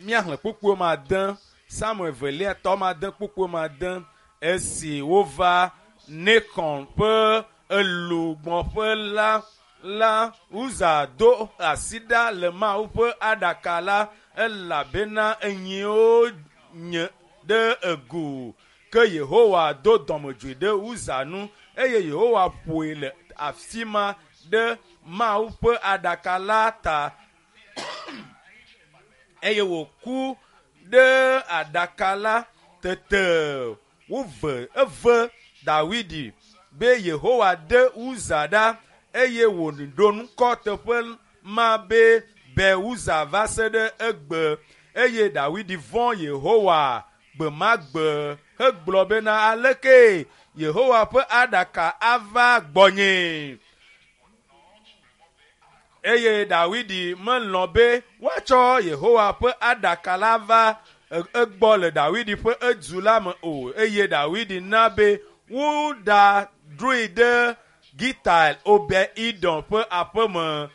míaxlẽ kpukpuiwo ma de, Samuel velia tɔ ma de kpukpuiwo ma de. Esi wova Nekon ƒe elugbɔƒe la, la Uza do asi ɖa le Mawu ƒe aɖaka la, elabena enyiwo nye ɖe egu. Ke Yehowa do dɔmedzoe ɖe Uza nu eye Yehowa ƒoe le afi ma ɖe Mawu ƒe aɖaka la ta eye wòku ɖe aɖaka la. Tete wove eve Dawidi be Yehowa ɖe Uza ɖa eye wòɖo ŋkɔ teƒe ma be Be Uza va se ɖe egbe. Eye Dawidi vɔ̃ Yehowa gbe ma gbe hegblɔ bena aleke Yehowa ƒe aɖaka ava gbɔnye. Eye Dawidi melɔ̃ be woatsɔ Yehowa ƒe aɖaka la va egbɔ le Dawidi ƒe edu la me o. Eye Dawidi na be woɖadroe ɖe Gital Obed-Edom ƒe aƒeme.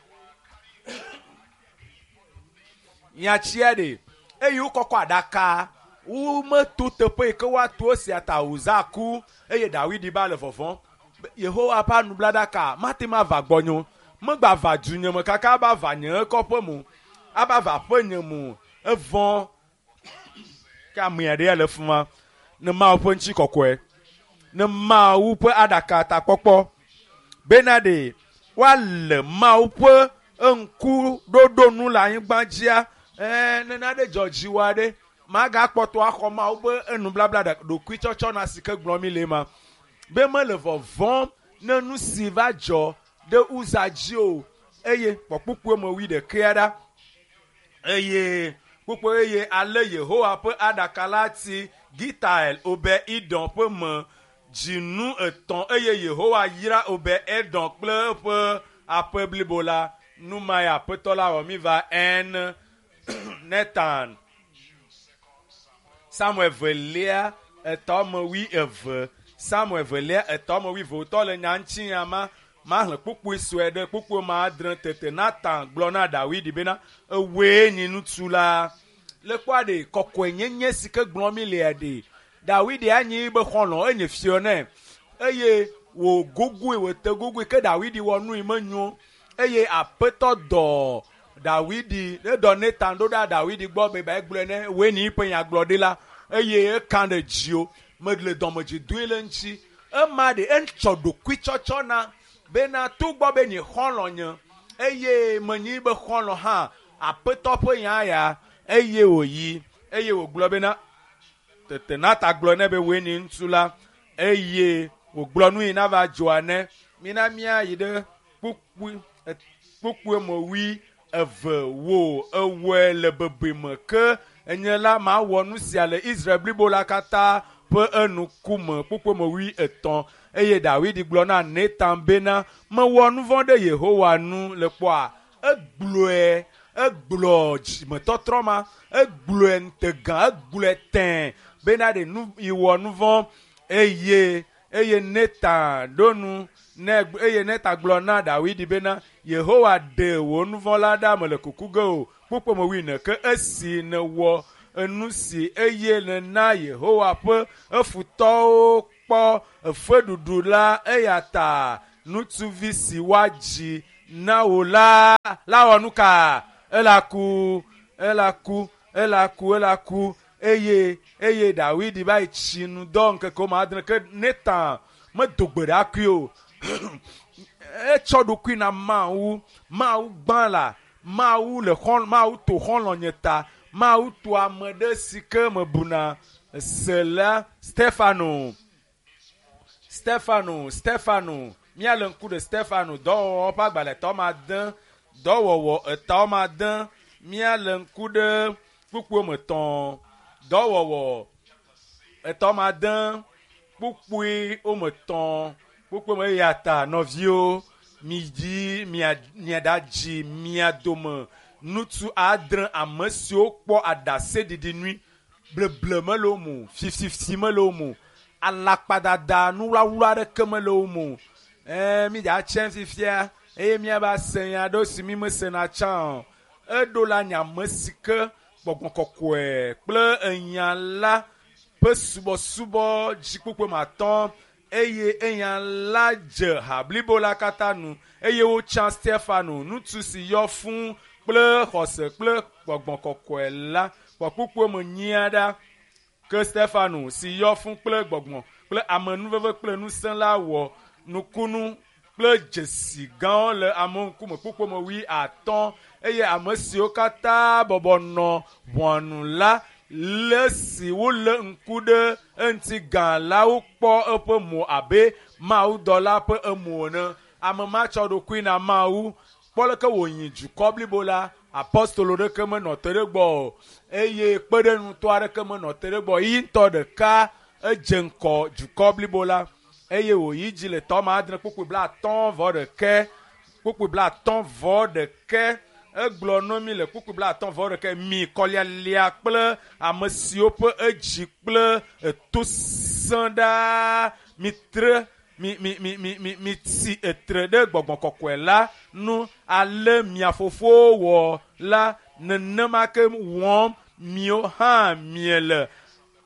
Nyatsia ɖe eye wokɔkɔ aɖaka wometo teƒe yi ke woato esia ta Uza ku eye Dawidi ba le vɔvɔ̃m. Yehowa ƒe anublaɖaka mate ŋu ava gbɔnye o. Megba va du nye me kaka aba va nye kɔƒe me o, aba va aƒe nye me o. Evɔ̃ ke ame aɖe le fi ma ne Mawu ƒe ŋutikɔkɔe, ne Mawu ƒe aɖaka takpɔkpɔ bena ɖe woale Mawu ƒe ŋkuɖoɖo nu le anyigba dzia. Ne nane dzɔ dziwò aɖe, magakpɔtɔ axɔ Mawu ƒe enublabla ɖokuitsɔtsɔ na si ke gblɔm mi le ma be mele vɔvɔ̃m ne nu si va dzɔ ɖe Uza dzi o. Eye kpɔ kpukpui me 21 ɖa. Eye kpukpui eye ale Yehowa ƒe aɖaka la ti Gitael Obed-Edom ƒe me dzinu 3 eye Yehowa yra Obed-Edom kple eƒe aƒe blibo la. Nu ma ya Aƒetɔ la wɔ mi va en Netan. Samuel velia etɔ me 22. Samuel velia etɔ me 22 wòtɔ le nya ŋuti ya ma. Mahlẽ kpukpui sue ɖe kpukpui ma adre. Tete Natan gblɔ na Dawidi bena ewoe nyi ŋutsu la. Le kpɔa ɖe kɔkɔenyenye si ke gblɔm mi lea ɖe Dawidi anyi be xɔlɔ̃ enye fiɔ nɛ eye wògogoe wòte gogoe ke Dawidi wɔ nu yi menyo eye Aƒetɔ dɔ Dawidi edɔ Natan ɖo ɖa Dawidi gbɔ be ba egblɔe ne woe nyi ƒe nyagblɔɖi la eye eka ɖe dzio mele dɔmedzoe doe le ŋuti. Ema ɖe etsɔ ɖokuitsɔtsɔ na bena togbɔ be nye xɔlɔ̃ nye eye menyi be xɔlɔ̃ hã Aƒetɔ ƒe nya ya eye wòyi eye wògblɔ bena tete Natan gblɔ nɛ be woe nyi ŋutsu la eye wògblɔ nu yi nava dzɔa nɛ. Mina míayi ɖe kpukpui me 22 wò ewɔe le bebeme ke enye la mawɔ nu sia le Israel blibo la katã ƒe enukume. Kpukpui me 23 eye Dawidi gblɔ na Natan bena mewɔ nu vɔ̃ ɖe Yehowa nu le kpɔa egblɔe egblɔ dzimetɔtrɔ ma egblɔe ŋutegã egblɔe tẽ bena ɖe nu yi wɔ nu vɔ̃ eye eye Natan ɖo nu ne eye Natan gblɔ na Dawidi bena Yehowa ɖe wò nu vɔ̃ la ɖa mele kuku ge o. Kpukpui me 24 ke esi nèwɔ enu si eye nèna Yehowa ƒe efutɔwo kpɔ efeɖuɖu la eya ta ŋutsuvi si woadzi na wò la la wɔ nu ka ela ku ela ku ela ku ela ku eye eye Dawidi va yi tsi nu dɔ ŋkeke woame adre ke Natan medo gbe ɖa kui o etsɔ ɖokui na Mawu Mawu gbã la Mawu le xɔ Mawu to xɔlɔ̃nye ta Mawu to ame ɖe si ke mebuna se la Stefano Stefano Stefano míale ŋku ɖe Stefano dɔwɔwɔ ƒe agbalẽ etɔ̃ ma de dɔwɔwɔ etɔ̃ ma de míale ŋku ɖe kpukpui me tɔ̃ dɔwɔwɔ etɔ̃ ma de kpukpui wome tɔ̃ kpukpui me eya ta nɔviwo midzi mia miaɖadzi mia dome ŋutsu adre ame siwo kpɔ aɖaseɖiɖi nyui bleble mele wo me o fififi mele wo me o alakpadada nuwlawla aɖeke mele wo me o ɛɛ mi dza tsɛ fifia eye miava se nya aɖewo si mi mesena tsã o eɖo la nye ame si ke gbɔgbɔ kɔkɔe kple enya la ƒe subɔsubɔ dzikpukpui me atɔ̃ eye eya la dze ha blibo la katã nu eye wotsã Stefano ŋutsu si yɔ fũu kple xɔse kple gbɔgbɔ kɔkɔe la kpɔkpukpui me nyia ɖa ke Stefano si yɔ fũu kple gbɔgbɔ kple amenuveve kple ŋusẽ la wɔ nukunu kple dzesi gãwo le amewo ŋkume kpukpui me wui atɔ̃ eye ame siwo katã bɔbɔ nɔ ʋɔnu la le si wolé ŋku ɖe eŋuti gã la wokpɔ eƒe mo abe mawudɔla ƒe emo ene ame ma tsɔ ɖokui na Mawu kpɔ leke wònyi dukɔ blibo la apɔstolo ɖeke menɔ te ɖe gbɔ o eye kpeɖeŋutɔ aɖeke menɔ te ɖe gbɔ yi ŋutɔ ɖeka edze ŋkɔ dukɔ blibo la eye wòyi dzi le tɔma adre kpukpui bla atɔ̃ vɔ ɖeke kpukpui bla atɔ̃ vɔ ɖeke egblɔ na mi le kpukpui bla atɔ̃ vɔ ɖeke mi kɔlialia kple ame siwo ƒe edzi kple eto sẽ ɖaa mi tre mi mi mi mi mi mi tsi etre ɖe gbɔgbɔ kɔkɔe la nu ale mia fofowo wɔ la nenema ke wɔm miwo hã miele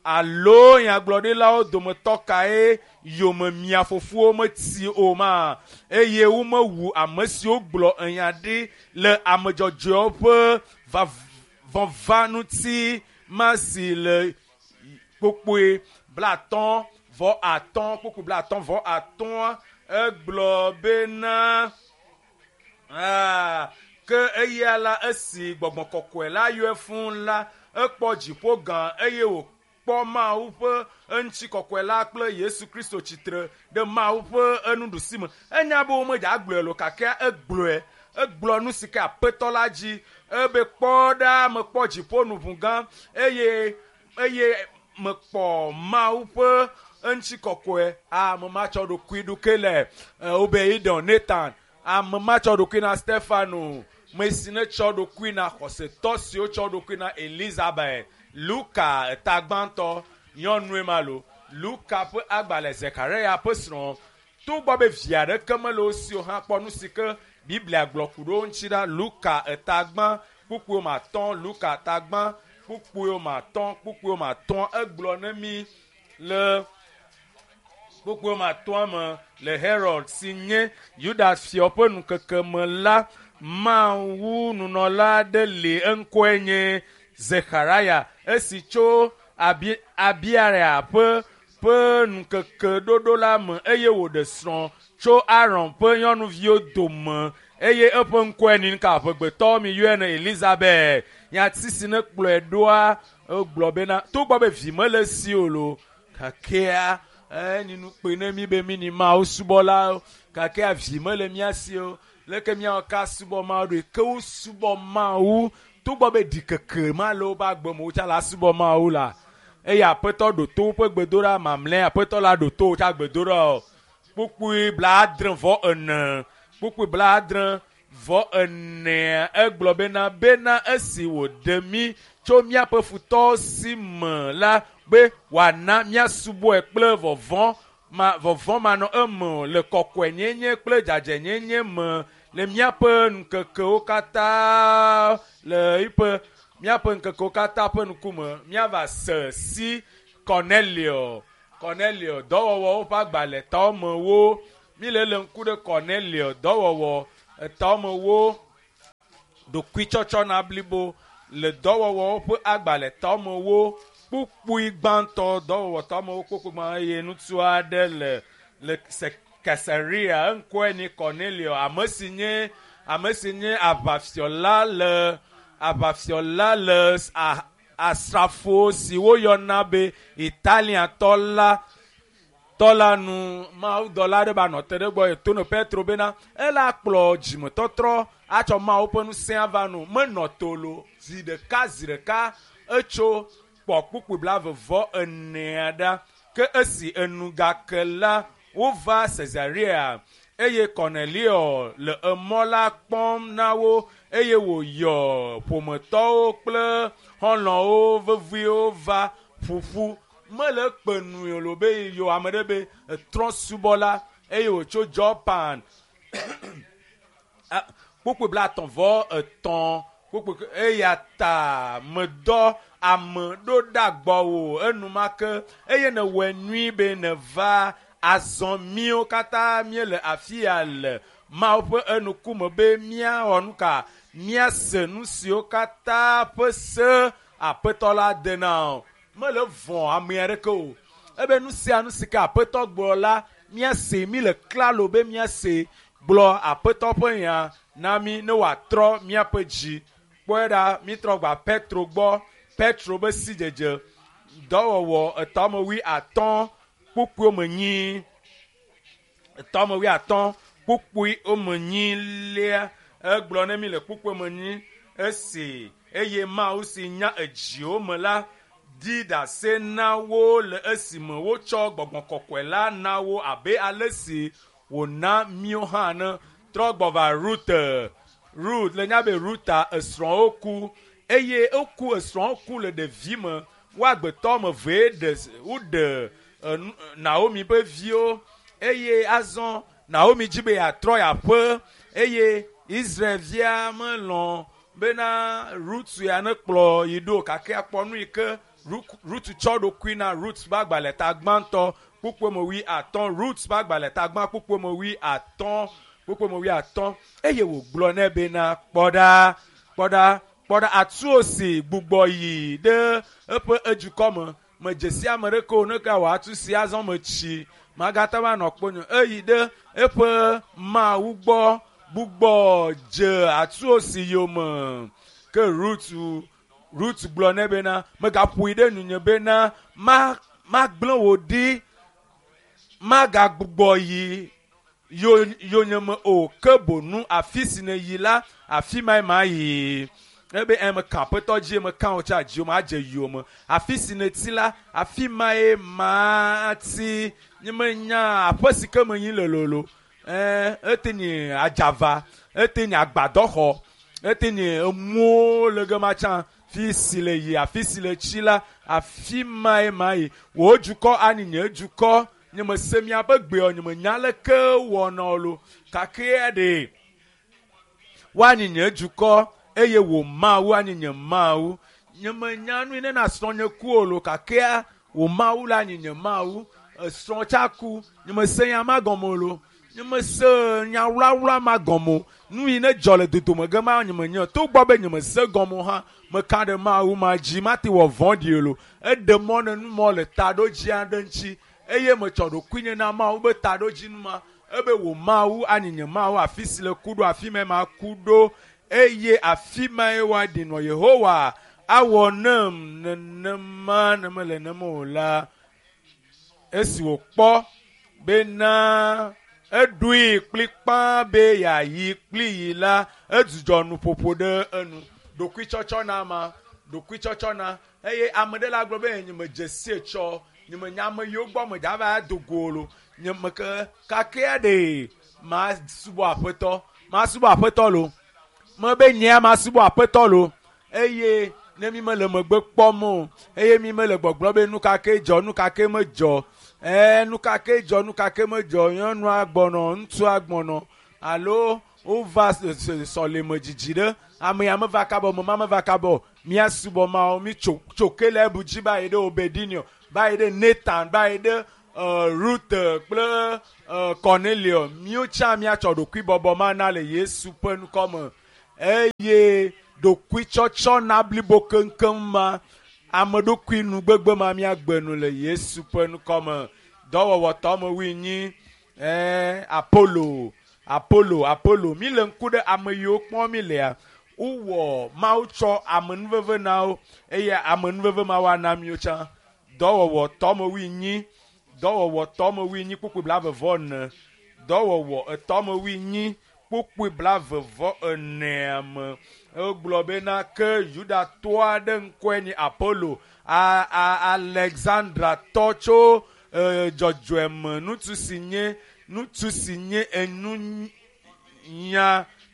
alo nyagblɔɖilawo dometɔ kae yome mia fofowo metsi o ma eye womewu ame siwo gblɔ enya ɖi le ame dzɔdzɔewo ƒe vɔva ŋuti ma si le kpokpoe 55 kpokpoe 55 egblɔ bena ke eya la esi gbɔgbɔ kɔkɔe la yɔe fũu la ekpɔ dziƒo gã eye wòkpɔ Mawu ƒe eŋutikɔkɔe la kple Yesu Kristo tsitre ɖe Mawu ƒe enuɖusi me enya be womedza gblɔe lo gake egblɔe egblɔ nu si ke aƒetɔ la dzi ebe kpɔ ɖa mekpɔ dziƒo nu ʋu gã eye eye mekpɔ Mawu ƒe eŋutikɔkɔe ame matsɔ ɖokui ɖoke le wobe Idon Nathan ame matsɔ ɖokui na Stefano me si ne tsɔ ɖokui na xɔsetɔ siwo tsɔ ɖokui na Elizabeth Luka eta gbãtɔ nyɔnue ma lo Luka ƒe agbalẽ Zekaria ƒe srɔ̃ togbɔ be vi aɖeke mele wo si o hã kpɔ nu si ke Biblia gblɔ ku ɖe wo ŋuti ɖa Luka eta gbã kpukpui me atɔ̃ Luka eta gbã kpukpui me atɔ̃ kpukpui me atɔ̃ egblɔ ne mi le kpukpui me atɔ̃a me le Herod si nye Yuda fia ƒe ŋkeke me la Mawu nunɔla aɖe li eŋkɔe nye Zechariah esi tso Abiaya ƒe ƒe ŋkeke ɖoɖo la me eye wòɖe srɔ̃ tso Aaron ƒe nyɔnuviwo dome eye eƒe ŋkɔe ni ka ƒegbetɔ mi yɔe ne Elizabeth nyati si ne kplɔe ɖoa egblɔ bena togbɔ be vi mele esi o lo gakea eni nu kpe ne mi be mi ni Mawu subɔlawo gakea vi mele mía si o leke míawɔ ka subɔ Mawu ɖo ke wo subɔ Mawu togbɔ be ɖikeke ma le woƒe agbe me wotsa la subɔ Mawu la eye aƒetɔ ɖo to woƒe gbedoɖa mamlɛ aƒetɔ la ɖo to wotsa gbedoɖa o kpukpui 74 kpukpui 74 egblɔ bena bena esi wòɖe mí tso míaƒe futɔwo si me la be wòana míasubɔe kple vɔvɔ̃ ma vɔvɔ̃ manɔ eme o le kɔkɔenyenye kple dzadzɛnyenye me le míaƒe ŋkekewo katã le eƒe míaƒe ŋkekewo katã ƒe ŋkume míava se si Cornelio Cornelio dɔwɔwɔwo ƒe agbalẽ tawomewo. Mi le le ŋku ɖe Cornelio dɔwɔwɔ etawomewo ɖokuitsɔtsɔna blibo le dɔwɔwɔwo ƒe agbalẽ tawomewo kpukpui gbãtɔ dɔwɔwɔ tawomewo kpukpui gbã eye ŋutsu aɖe le le Kaesarea eŋkɔe nye Cornelio ame si nye ame si nye aʋafiɔla le aʋafiɔla le asrafo si woyɔna be Italiatɔ la tɔ la nu mawudɔla aɖe ba nɔ te ɖe gbɔ eto no Petro bena ela kplɔ dzimetɔtrɔ atsɔ Mawu ƒe ŋusẽ ava nu menɔ tolo zi ɖeka zi ɖeka etso kpɔ kpukpui 44 ɖa ke esi enu gake la wova Caesarea eye Cornelio le emɔ la kpɔm na wo eye wòyɔ ƒometɔwo kple xɔlɔ̃wo veviwo va ƒuƒu mele kpe nui lo be yɔ ame ɖe be etrɔ subɔla eye wòtso Japan kpukpui 33 kpukpui eya ta medɔ ame ɖo ɖa gbɔwò enumake eye nèwɔe nyui be nèva azɔ míwo katã míele afi ya le Mawu ƒe enukume be míawɔ nu ka míase nu siwo katã ƒe se Aƒetɔ la de na o. Mele vɔ̃ ame aɖeke o. Ebe nu sia nu si ke Aƒetɔ gblɔ la míase mí le klalo be míase gblɔ Aƒetɔ ƒe nya na mí ne wòatrɔ míaƒe dzi. Kpɔe ɖa mítrɔ gba Petro gbɔ. Petro be sidzedze dɔwɔwɔ 8 kpukpui me nyi 8 kpukpui me nyi lia egblɔ ne mi le kpukpui me nyi esi eye Mawu si nya edziwo me la di ɖase na wo le esime wotsɔ gbɔgbɔ kɔkɔe la na wo abe ale si wòna míwo hã ne trɔ gbɔ va Rut Rut le nya be Ruta esrɔ̃wo ku eye eku esrɔ̃wo ku le ɖevime woagbetɔ me vee ɖe woɖe Naomi ƒe viwo eye azɔ Naomi dzi be yeatrɔ yeaƒe eye Israelvia melɔ̃ bena Rut ya ne kplɔ yi ɖo gake akpɔ nu yi ke Rut tsɔ ɖokui na Rut ƒe agbalẽ ta gbãtɔ kpukpui me 50 Rut ƒe agbalẽ ta gbã kpukpui me 50 kpukpui me 50 eye wògblɔ nɛ bena kpɔ ɖa kpɔ ɖa kpɔ ɖa atuo si gbugbɔ yi ɖe eƒe edukɔ me medze si ame ɖeke o ne ka wò atu si azɔ metsi magate va nɔ kponyo eyi ɖe eƒe Mawu gbɔ gbugbɔ dze atuo si yome ke Rut gblɔ nɛ bena megaƒoe ɖe nunye bena magblẽ wò ɖi magagbugbɔ yi yonyeme o ke bonu afi si ne yi la afi mae mayi ebe meka Aƒetɔ dzi meka wò tsa dziwò madze yowòme afi si neti la afi mae mati nye menya aƒe si ke menyi le lolo ete nye adzava ete nye agbadɔxɔ ete nye emuwo le gema tsã fi si le yi afi si le tsi la afi mae mayi wò dukɔ ani nye dukɔ nye mese miaƒe gbeɔ nye menya leke wɔna lo gake ɖe woanyi nye dukɔ eye wò Mawu anyi nye Mawu nye menya nu ne na srɔ̃ nye ku o lo gake wò Mawu la anyi nye Mawu esrɔ̃ tsa ku nye mese nya ma gɔme o lo nye mese nya wlawla ma gɔme o nu yi ne dzɔ le dodome ge ma nye menya togbɔ be nye mese gɔme o hã meka ɖe Mawu ma dzi mate wɔ vɔ̃ɖi o lo eɖe mɔ ne numɔ le taɖodzi aɖe ŋuti eye metsɔ ɖokuinye na Mawu be taɖodzinu ma ebe wò Mawu anyi nye Mawu afi si le ku ɖo afi mae maku ɖo eye afi mae woaɖi nɔ Yehowa awɔ nem nenema ne mele nem o la esi wòkpɔ bena eɖoe kplikpaa be yeayi kpli yi la edzudzɔ nuƒoƒo ɖe enu ɖokuitsɔtsɔ na ma ɖokuitsɔtsɔ na eye ame ɖe la gblɔ be nye medze sie tsɔ nye menya ame yiwo gbɔ medza va do go lo nye meke kakea ɖe masubɔ Aƒetɔ masubɔ Aƒetɔ lo mebe nyea masubɔ Aƒetɔ lo eye ne mi mele megbe kpɔm o eye mi mele gbɔgblɔ be nu ka ke dzɔ nu ka ke medzɔ nu ka ke dzɔ nu ka ke medzɔ nyɔnua gbɔnɔ ŋutsua gbɔnɔ alo wova sɔleme dzidzi ɖe ame ya meva kaba o mema meva kaba o míasubɔ Mawu mi tso ke le ebu dzi ba yi ɖe obedinio. va yi ɖe Nathan, va yi ɖe Ruth kple Cornelio. Míwo tsã míatsɔ ɖokuibɔbɔ ma na le Yesu ƒe ŋkɔ me. Eye ɖokuitsɔtsɔ na blibo keŋkeŋ ma, ame ɖokui nugbegbe ma míagbe nu le Yesu ƒe ŋkɔ me. Dɔwɔwɔ tɔ me wui nyi Apollo, Apollo, Apollo. Mi le ŋku ɖe ame yiwo kpɔm mi lea, wowɔ Mawu tsɔ amenuveve na wo eye amenuveve ma woana míwo tsã. Dɔwɔwɔ tɔ me wui nyi, dɔwɔwɔ tɔ me wui nyi kpukpui 44. Dɔwɔwɔ etɔ me wui nyi kpukpui 44 me. Egblɔ bena ke Yudatɔ aɖe ŋkɔe nye Apollo, Alexandra tɔ tso dzɔdzɔeme ŋutsu si nye ŋutsu si nye enunya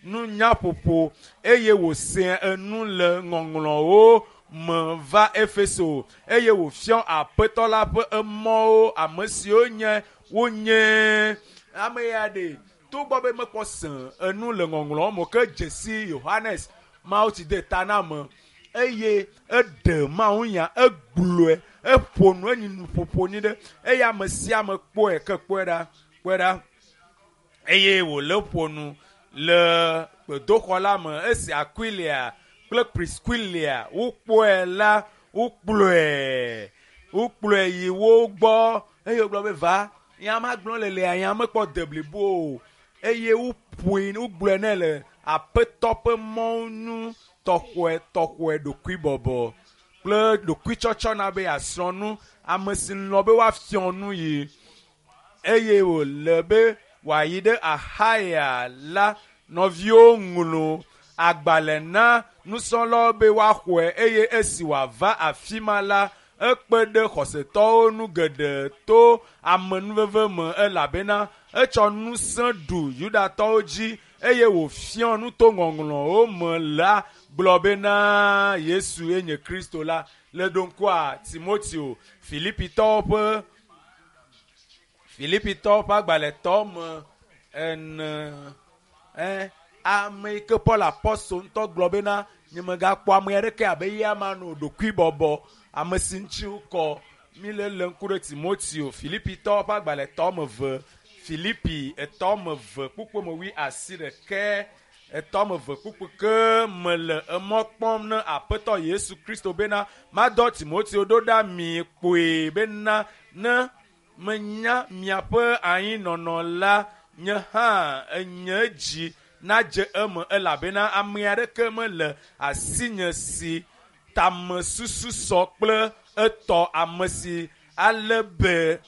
nunyaƒoƒo eye wòse enu le ŋɔŋlɔwo me va Efeso eye wòfiɔ aƒetɔ la ƒe emɔwo ame siwo nye wonye ame ya ɖe togbɔ be mekpɔ se enu le ŋɔŋlɔwo me ke dzesi Yohanes Mawu tsi de ta na ame eye eɖe Mawu nya egblɔe eƒo nu enyi nuƒoƒo nyi ɖe eye ame sia ame kpɔe ke kpɔe ɖa kpɔe ɖa eye wòle ƒo nu le gbedoxɔ la me esi Aquilia kple Priscilia wokpɔe la wokplɔe yi wo gbɔ eye wogblɔ be va nya ma gblɔ le lea nya mekpɔ de blibo o eye woƒoe wogblɔe nɛ le aƒetɔ ƒe mɔnu tɔxɔe ɖokuibɔbɔ kple ɖokuitsɔtsɔ na be yeasrɔ̃ nu ame si lɔ̃ be woafiɔ nu yi eye wòle be wòayi ɖe Axaya la nɔviwo ŋlɔ agbalẽ na nusrɔ̃lawo be woaxɔe eye esi wòava afi ma la ekpe ɖe xɔsetɔwo nu geɖe to amenuveve me elabena etsɔ ŋusẽ ɖu Yudatɔwo dzi eye wòfiɔ nu to ŋɔŋlɔwo me la gblɔ bena Yesu ye nye Kristo la. Le ɖoŋkua Timoteo Filipitɔwo ƒe agbalẽtɔ me ene ame yi ke Paul apɔstol ŋutɔ gblɔ bena nyemegakpɔ ame aɖeke abe eya ma no ɖokuibɔbɔ ame si ŋuti wokɔ. Mi le le ŋku ɖe Timoteo Filipitɔwo ƒe agbalẽtɔ me 2 Filipi 3 me 2 kpukpui me 28 3 me 2 kpukpui ke me le emɔ kpɔm ne Aƒetɔ Yesu Kristo bena madɔ Timoteo ɖo ɖa mi kpoe bena ne menya miaƒe anyinɔnɔ la nye hã nye dzi nadze eme elabena ame aɖeke mele asinye si tamesusu sɔ kple etɔ ame si ale be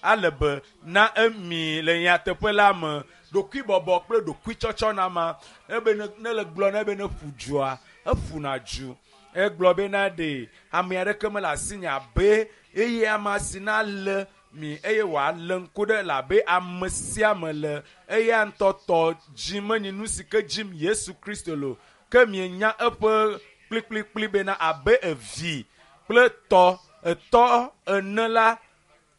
na emi le nyateƒe la me. Ɖokuibɔbɔ kple ɖokuitsɔtsɔ na ma ebe ne le gblɔ ne be ne ƒu dzua eƒuna dzu egblɔ bena ɖe ame aɖeke mele asinye abe eye ame si na le mi eye wòalé ŋku ɖe labe ame sia ame le eya ŋutɔ tɔ dzi menyi nu si ke dzim Yesu Kristo lo ke mienya eƒe kplikplikpli bena abe evi kple tɔ etɔ ene la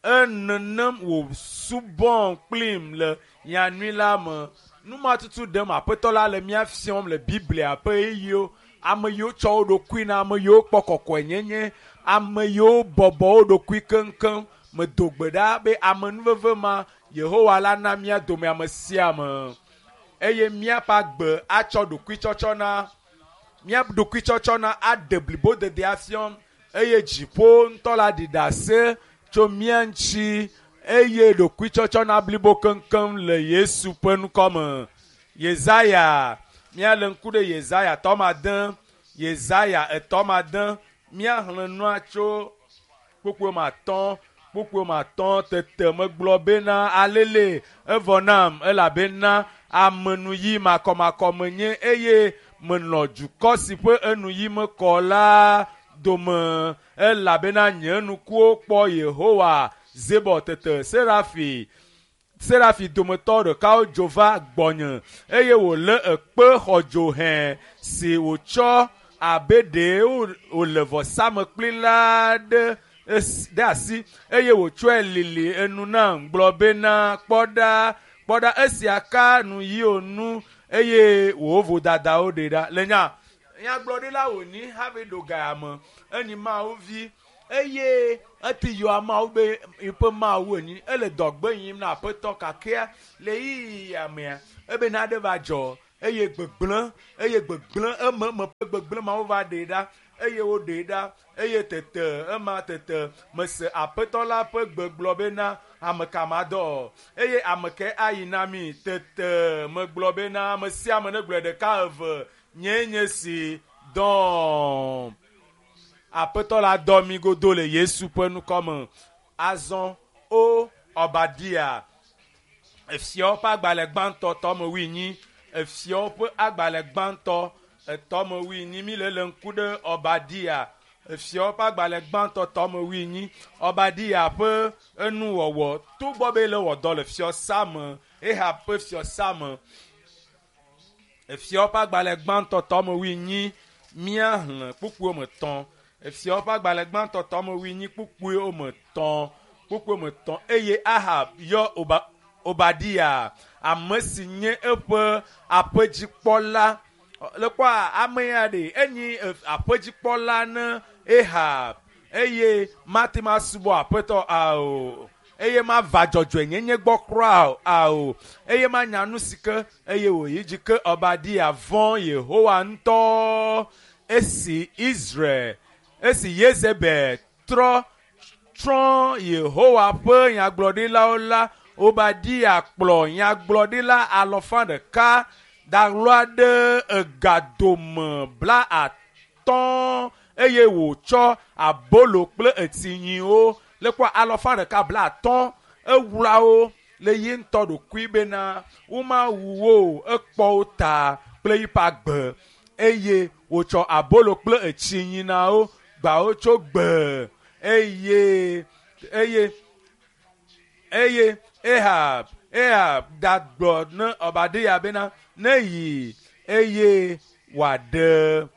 enenem wòsubɔm kplim le nyanyui la me. Nu ma tutu ɖem Aƒetɔ la le mía fiɔm le Biblia ƒe ɣeyiɣiwo. Ame yiwo tsɔ wo ɖokui na, ame yiwo kpɔ kɔkɔenyenye, ame yiwo bɔbɔ wo ɖokui keŋkeŋ. Medo gbe ɖa be amenuveve ma Yehowa la na mía dome ame sia ame eye míaƒe agbe atsɔ ɖokuitsɔtsɔ na mía ɖokuitsɔtsɔ na aɖe blibodede afiɔm eye dziƒo ŋutɔ la ɖi ɖase tso mía ŋuti eye ɖokuitsɔtsɔ na blibo keŋkeŋ le Yesu ƒe ŋkɔ me. Yesaya, míalé ŋku ɖe Yesaya 3, Yesaya 3, míaxlẽ nua tso kpukpui 5 kpukpui 5 tete megblɔ bena alele evɔ nam elabena amenuyi makɔmakɔ menye eye menɔ dukɔ si ƒe enuyi mekɔ la dome elabena nye ŋkuwo kpɔ Yehowa Zebɔ. Tete Serafi dometɔ ɖekawo dzo va gbɔnye eye wòlé ekpe xɔdzo hẽ si wòtsɔ abe ɖe wòle vɔsamlekpui la ɖe asi eye wòtsɔe lili enu nam gblɔ bena kpɔ ɖa esia ka nu yiwo nu eye wò vodadawo ɖe ɖa. Le nya nyagblɔɖila wònyi hafi ɖo gaya me enyi Mawu vi. Eye eti yɔ ameawo be yiƒe mawu enyi ele dɔgbe yim na aƒetɔ kakea le ɣeyiɣi mea ebe nane va dzɔ eye gbegblẽ eye gbegblẽ eme eme ƒe gbegblẽ mawo va ɖee ɖa eye woɖee ɖa eye tete ema tete mese aƒetɔ la ƒe gbe gblɔ bena ame ka madɔ eye ame kae ayi na mi tete megblɔ bena ame sia ame negblɔe ɖeka eve nyee nye si dɔm. Aƒetɔ la dɔ mi godo le Yesu ƒe ŋkɔ me. Azɔ o Obadia, efiawo ƒe agbalẽ gbãtɔ tɔme wuienyi, efiawo ƒe agbalẽ gbãtɔ etɔme wuienyi mi le le ŋku ɖe Obadia, efiawo ƒe agbalẽ gbãtɔ tɔme wuienyi, Obadia ƒe enuwɔwɔ togbɔ be le wɔ dɔ le fiɔsa me, Ahab ƒe fiɔsa me. Efiawo ƒe agbalẽ gbãtɔ tɔme wuienyi míaxlẽ kpukpuiwo me tɔ̃. Efiawo ƒe agbalẽ gbãtɔ tɔme wuienyi kpukpuiwo me tɔ̃ kpukpuiwo me tɔ̃ eye Ahab yɔ Oba, Obadia ame si nye eƒe aƒedzikpɔla. Le kpɔa ame ya ɖe enyi aƒedzikpɔla ne Ahab eye mate ma subɔ aƒetɔ ao eye mava dzɔdzɔenyenye gbɔ kura o ao eye manya nu si ke eye wòyi dzi ke Obadia vɔ̃ Yehowa ŋutɔ esi Israel esi Yezebel trɔ trɔ Yehowa ƒe nyagblɔɖilawo la Obadia kplɔ nyagblɔɖila alɔfa ɖeka daɣlɔa ɖe egadome bla atɔ̃ eye wòtsɔ abolo kple etsinyiwo le kpɔ alɔfa ɖeka bla atɔ̃ ewlawo le ye ŋutɔ ɖokui bena womawu wo o ekpɔ wo ta kple yiƒe agbe eye wòtsɔ abolo kple etsinyi na wo gbawo tso gbe eye eye eye Ahab Ahab gagblɔ ne Obadia bena ne yi eye wòaɖe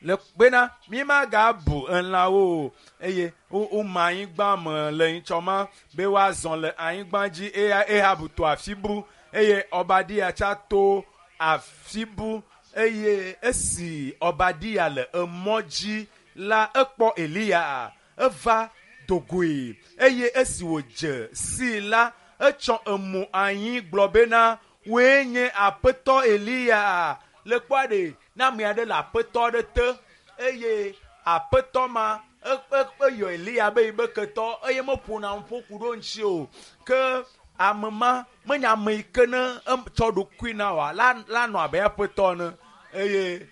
le bena mi magabu elãwo o eye woma anyigba me le nyitsɔ ma be woazɔ le anyigba dzi eye Ahab to afi bu eye Obadia tsa to afi bu eye esi Obadia le emɔ dzi la ekpɔ Eliya eva dogoe eye esi wòdze sii la etsɔ emo anyi gblɔ bena woe nye aƒetɔ Eliya le kpɔa ɖe ne ame aɖe le aƒetɔ aɖe te eye aƒetɔ ma eyɔ Eliya be yibe ketɔ eye meƒona nuƒo ku ɖo ŋuti o ke ame ma menye ame yi ke ne tsɔ ɖokui na oa la nɔ abe aƒetɔ ene eye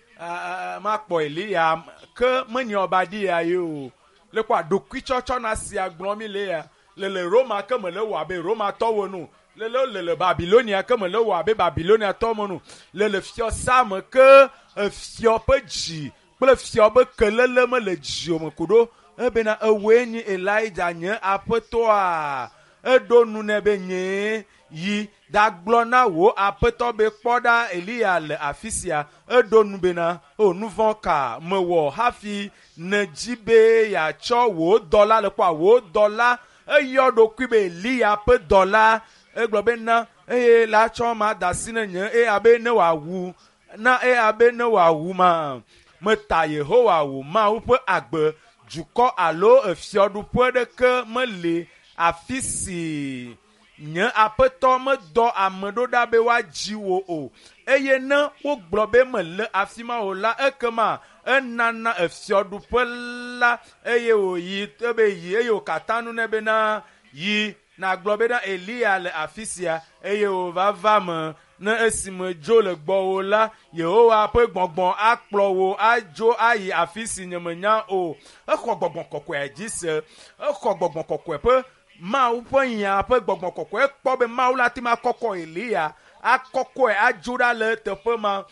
makpɔ Eliya ke menye Obadia ye o le kpɔa ɖokuitsɔtsɔ na sia gblɔm mi le ya le le Roma ke mele wɔ abe Romatɔwo ene o le le le Babilonia ke mele wɔ abe Babiloniatɔwo ene o le le fiɔsa me ke efiɔ ƒe dzi kple fiɔ ƒe kelele mele dziwò me ku ɖo ebena ewoe nye Elija nye aƒetɔa eɖo nu nɛ be nyee yi ɖagblɔ na wò aƒetɔ be kpɔ ɖa Eliya le afi sia eɖo nu bena o nu vɔ̃ ka mewɔ hafi nedzi be yeatsɔ wò dɔla le kpɔa wò dɔla eyɔ ɖokui be Eliya ƒe dɔla egblɔ bena eye la tsɔ ma da asi ne nye eye abe ne wòawu na eye abe ne wòawu ma meta Yehowa wò Mawu ƒe agbe dukɔ alo efiɔɖuƒe ɖeke meli afi si nye aƒetɔ medɔ ame ɖo ɖa be woadzi wo o eye ne wogblɔ be mele afi ma o la ekema enana efiɔɖuƒe la eye wòyi ebe yi eye wòkata nu nɛ bena yi nagblɔ bena Eliya le afi sia eye wòva va me ne esime dzo le gbɔwò la Yehowa ƒe gbɔgbɔ akplɔ wò adzo ayi afi si nyemenya o. Exɔ gbɔgbɔ kɔkɔea dzi se exɔ gbɔgbɔ kɔkɔe ƒe Mawu ƒe nya ƒe gbɔgbɔ kɔkɔe ekpɔ be Mawu la te ma kɔkɔ Eliya akɔkɔe adzo ɖa le teƒe ma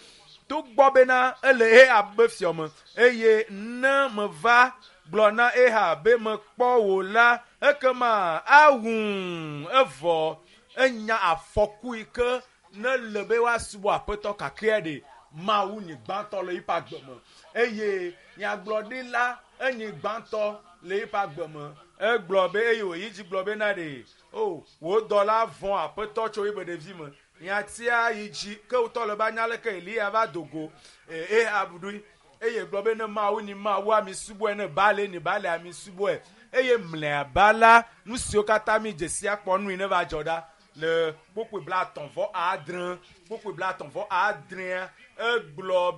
togbɔ bena ele Ahab be fiɔ me eye ne meva gblɔ na Ahab be mekpɔ wò la ekema awum evɔ enya afɔku yi ke ne le be woasubɔ aƒetɔ kakea ɖe Mawu nyi gbãtɔ le yiƒe agbe me eye nyagblɔɖila enyi gbãtɔ le yiƒe agbe me egblɔ be eye wòyi dzi gblɔ bena ɖe o wò dɔla vɔ̃ aƒetɔ tso yiƒe ɖevi me nyatia yi dzi ke wotɔ le be anya leke Eliya va do go Ahab ɖui. Eye gblɔ be ne Mawu ni Mawu ami subɔe, ne Baale ni Baale ami subɔe. Eye mlɔeba la, nu siwo katã mi dze si akpɔ nui ne va dzɔ ɖa le kpukpui 36, kpukpui 36 egblɔ be.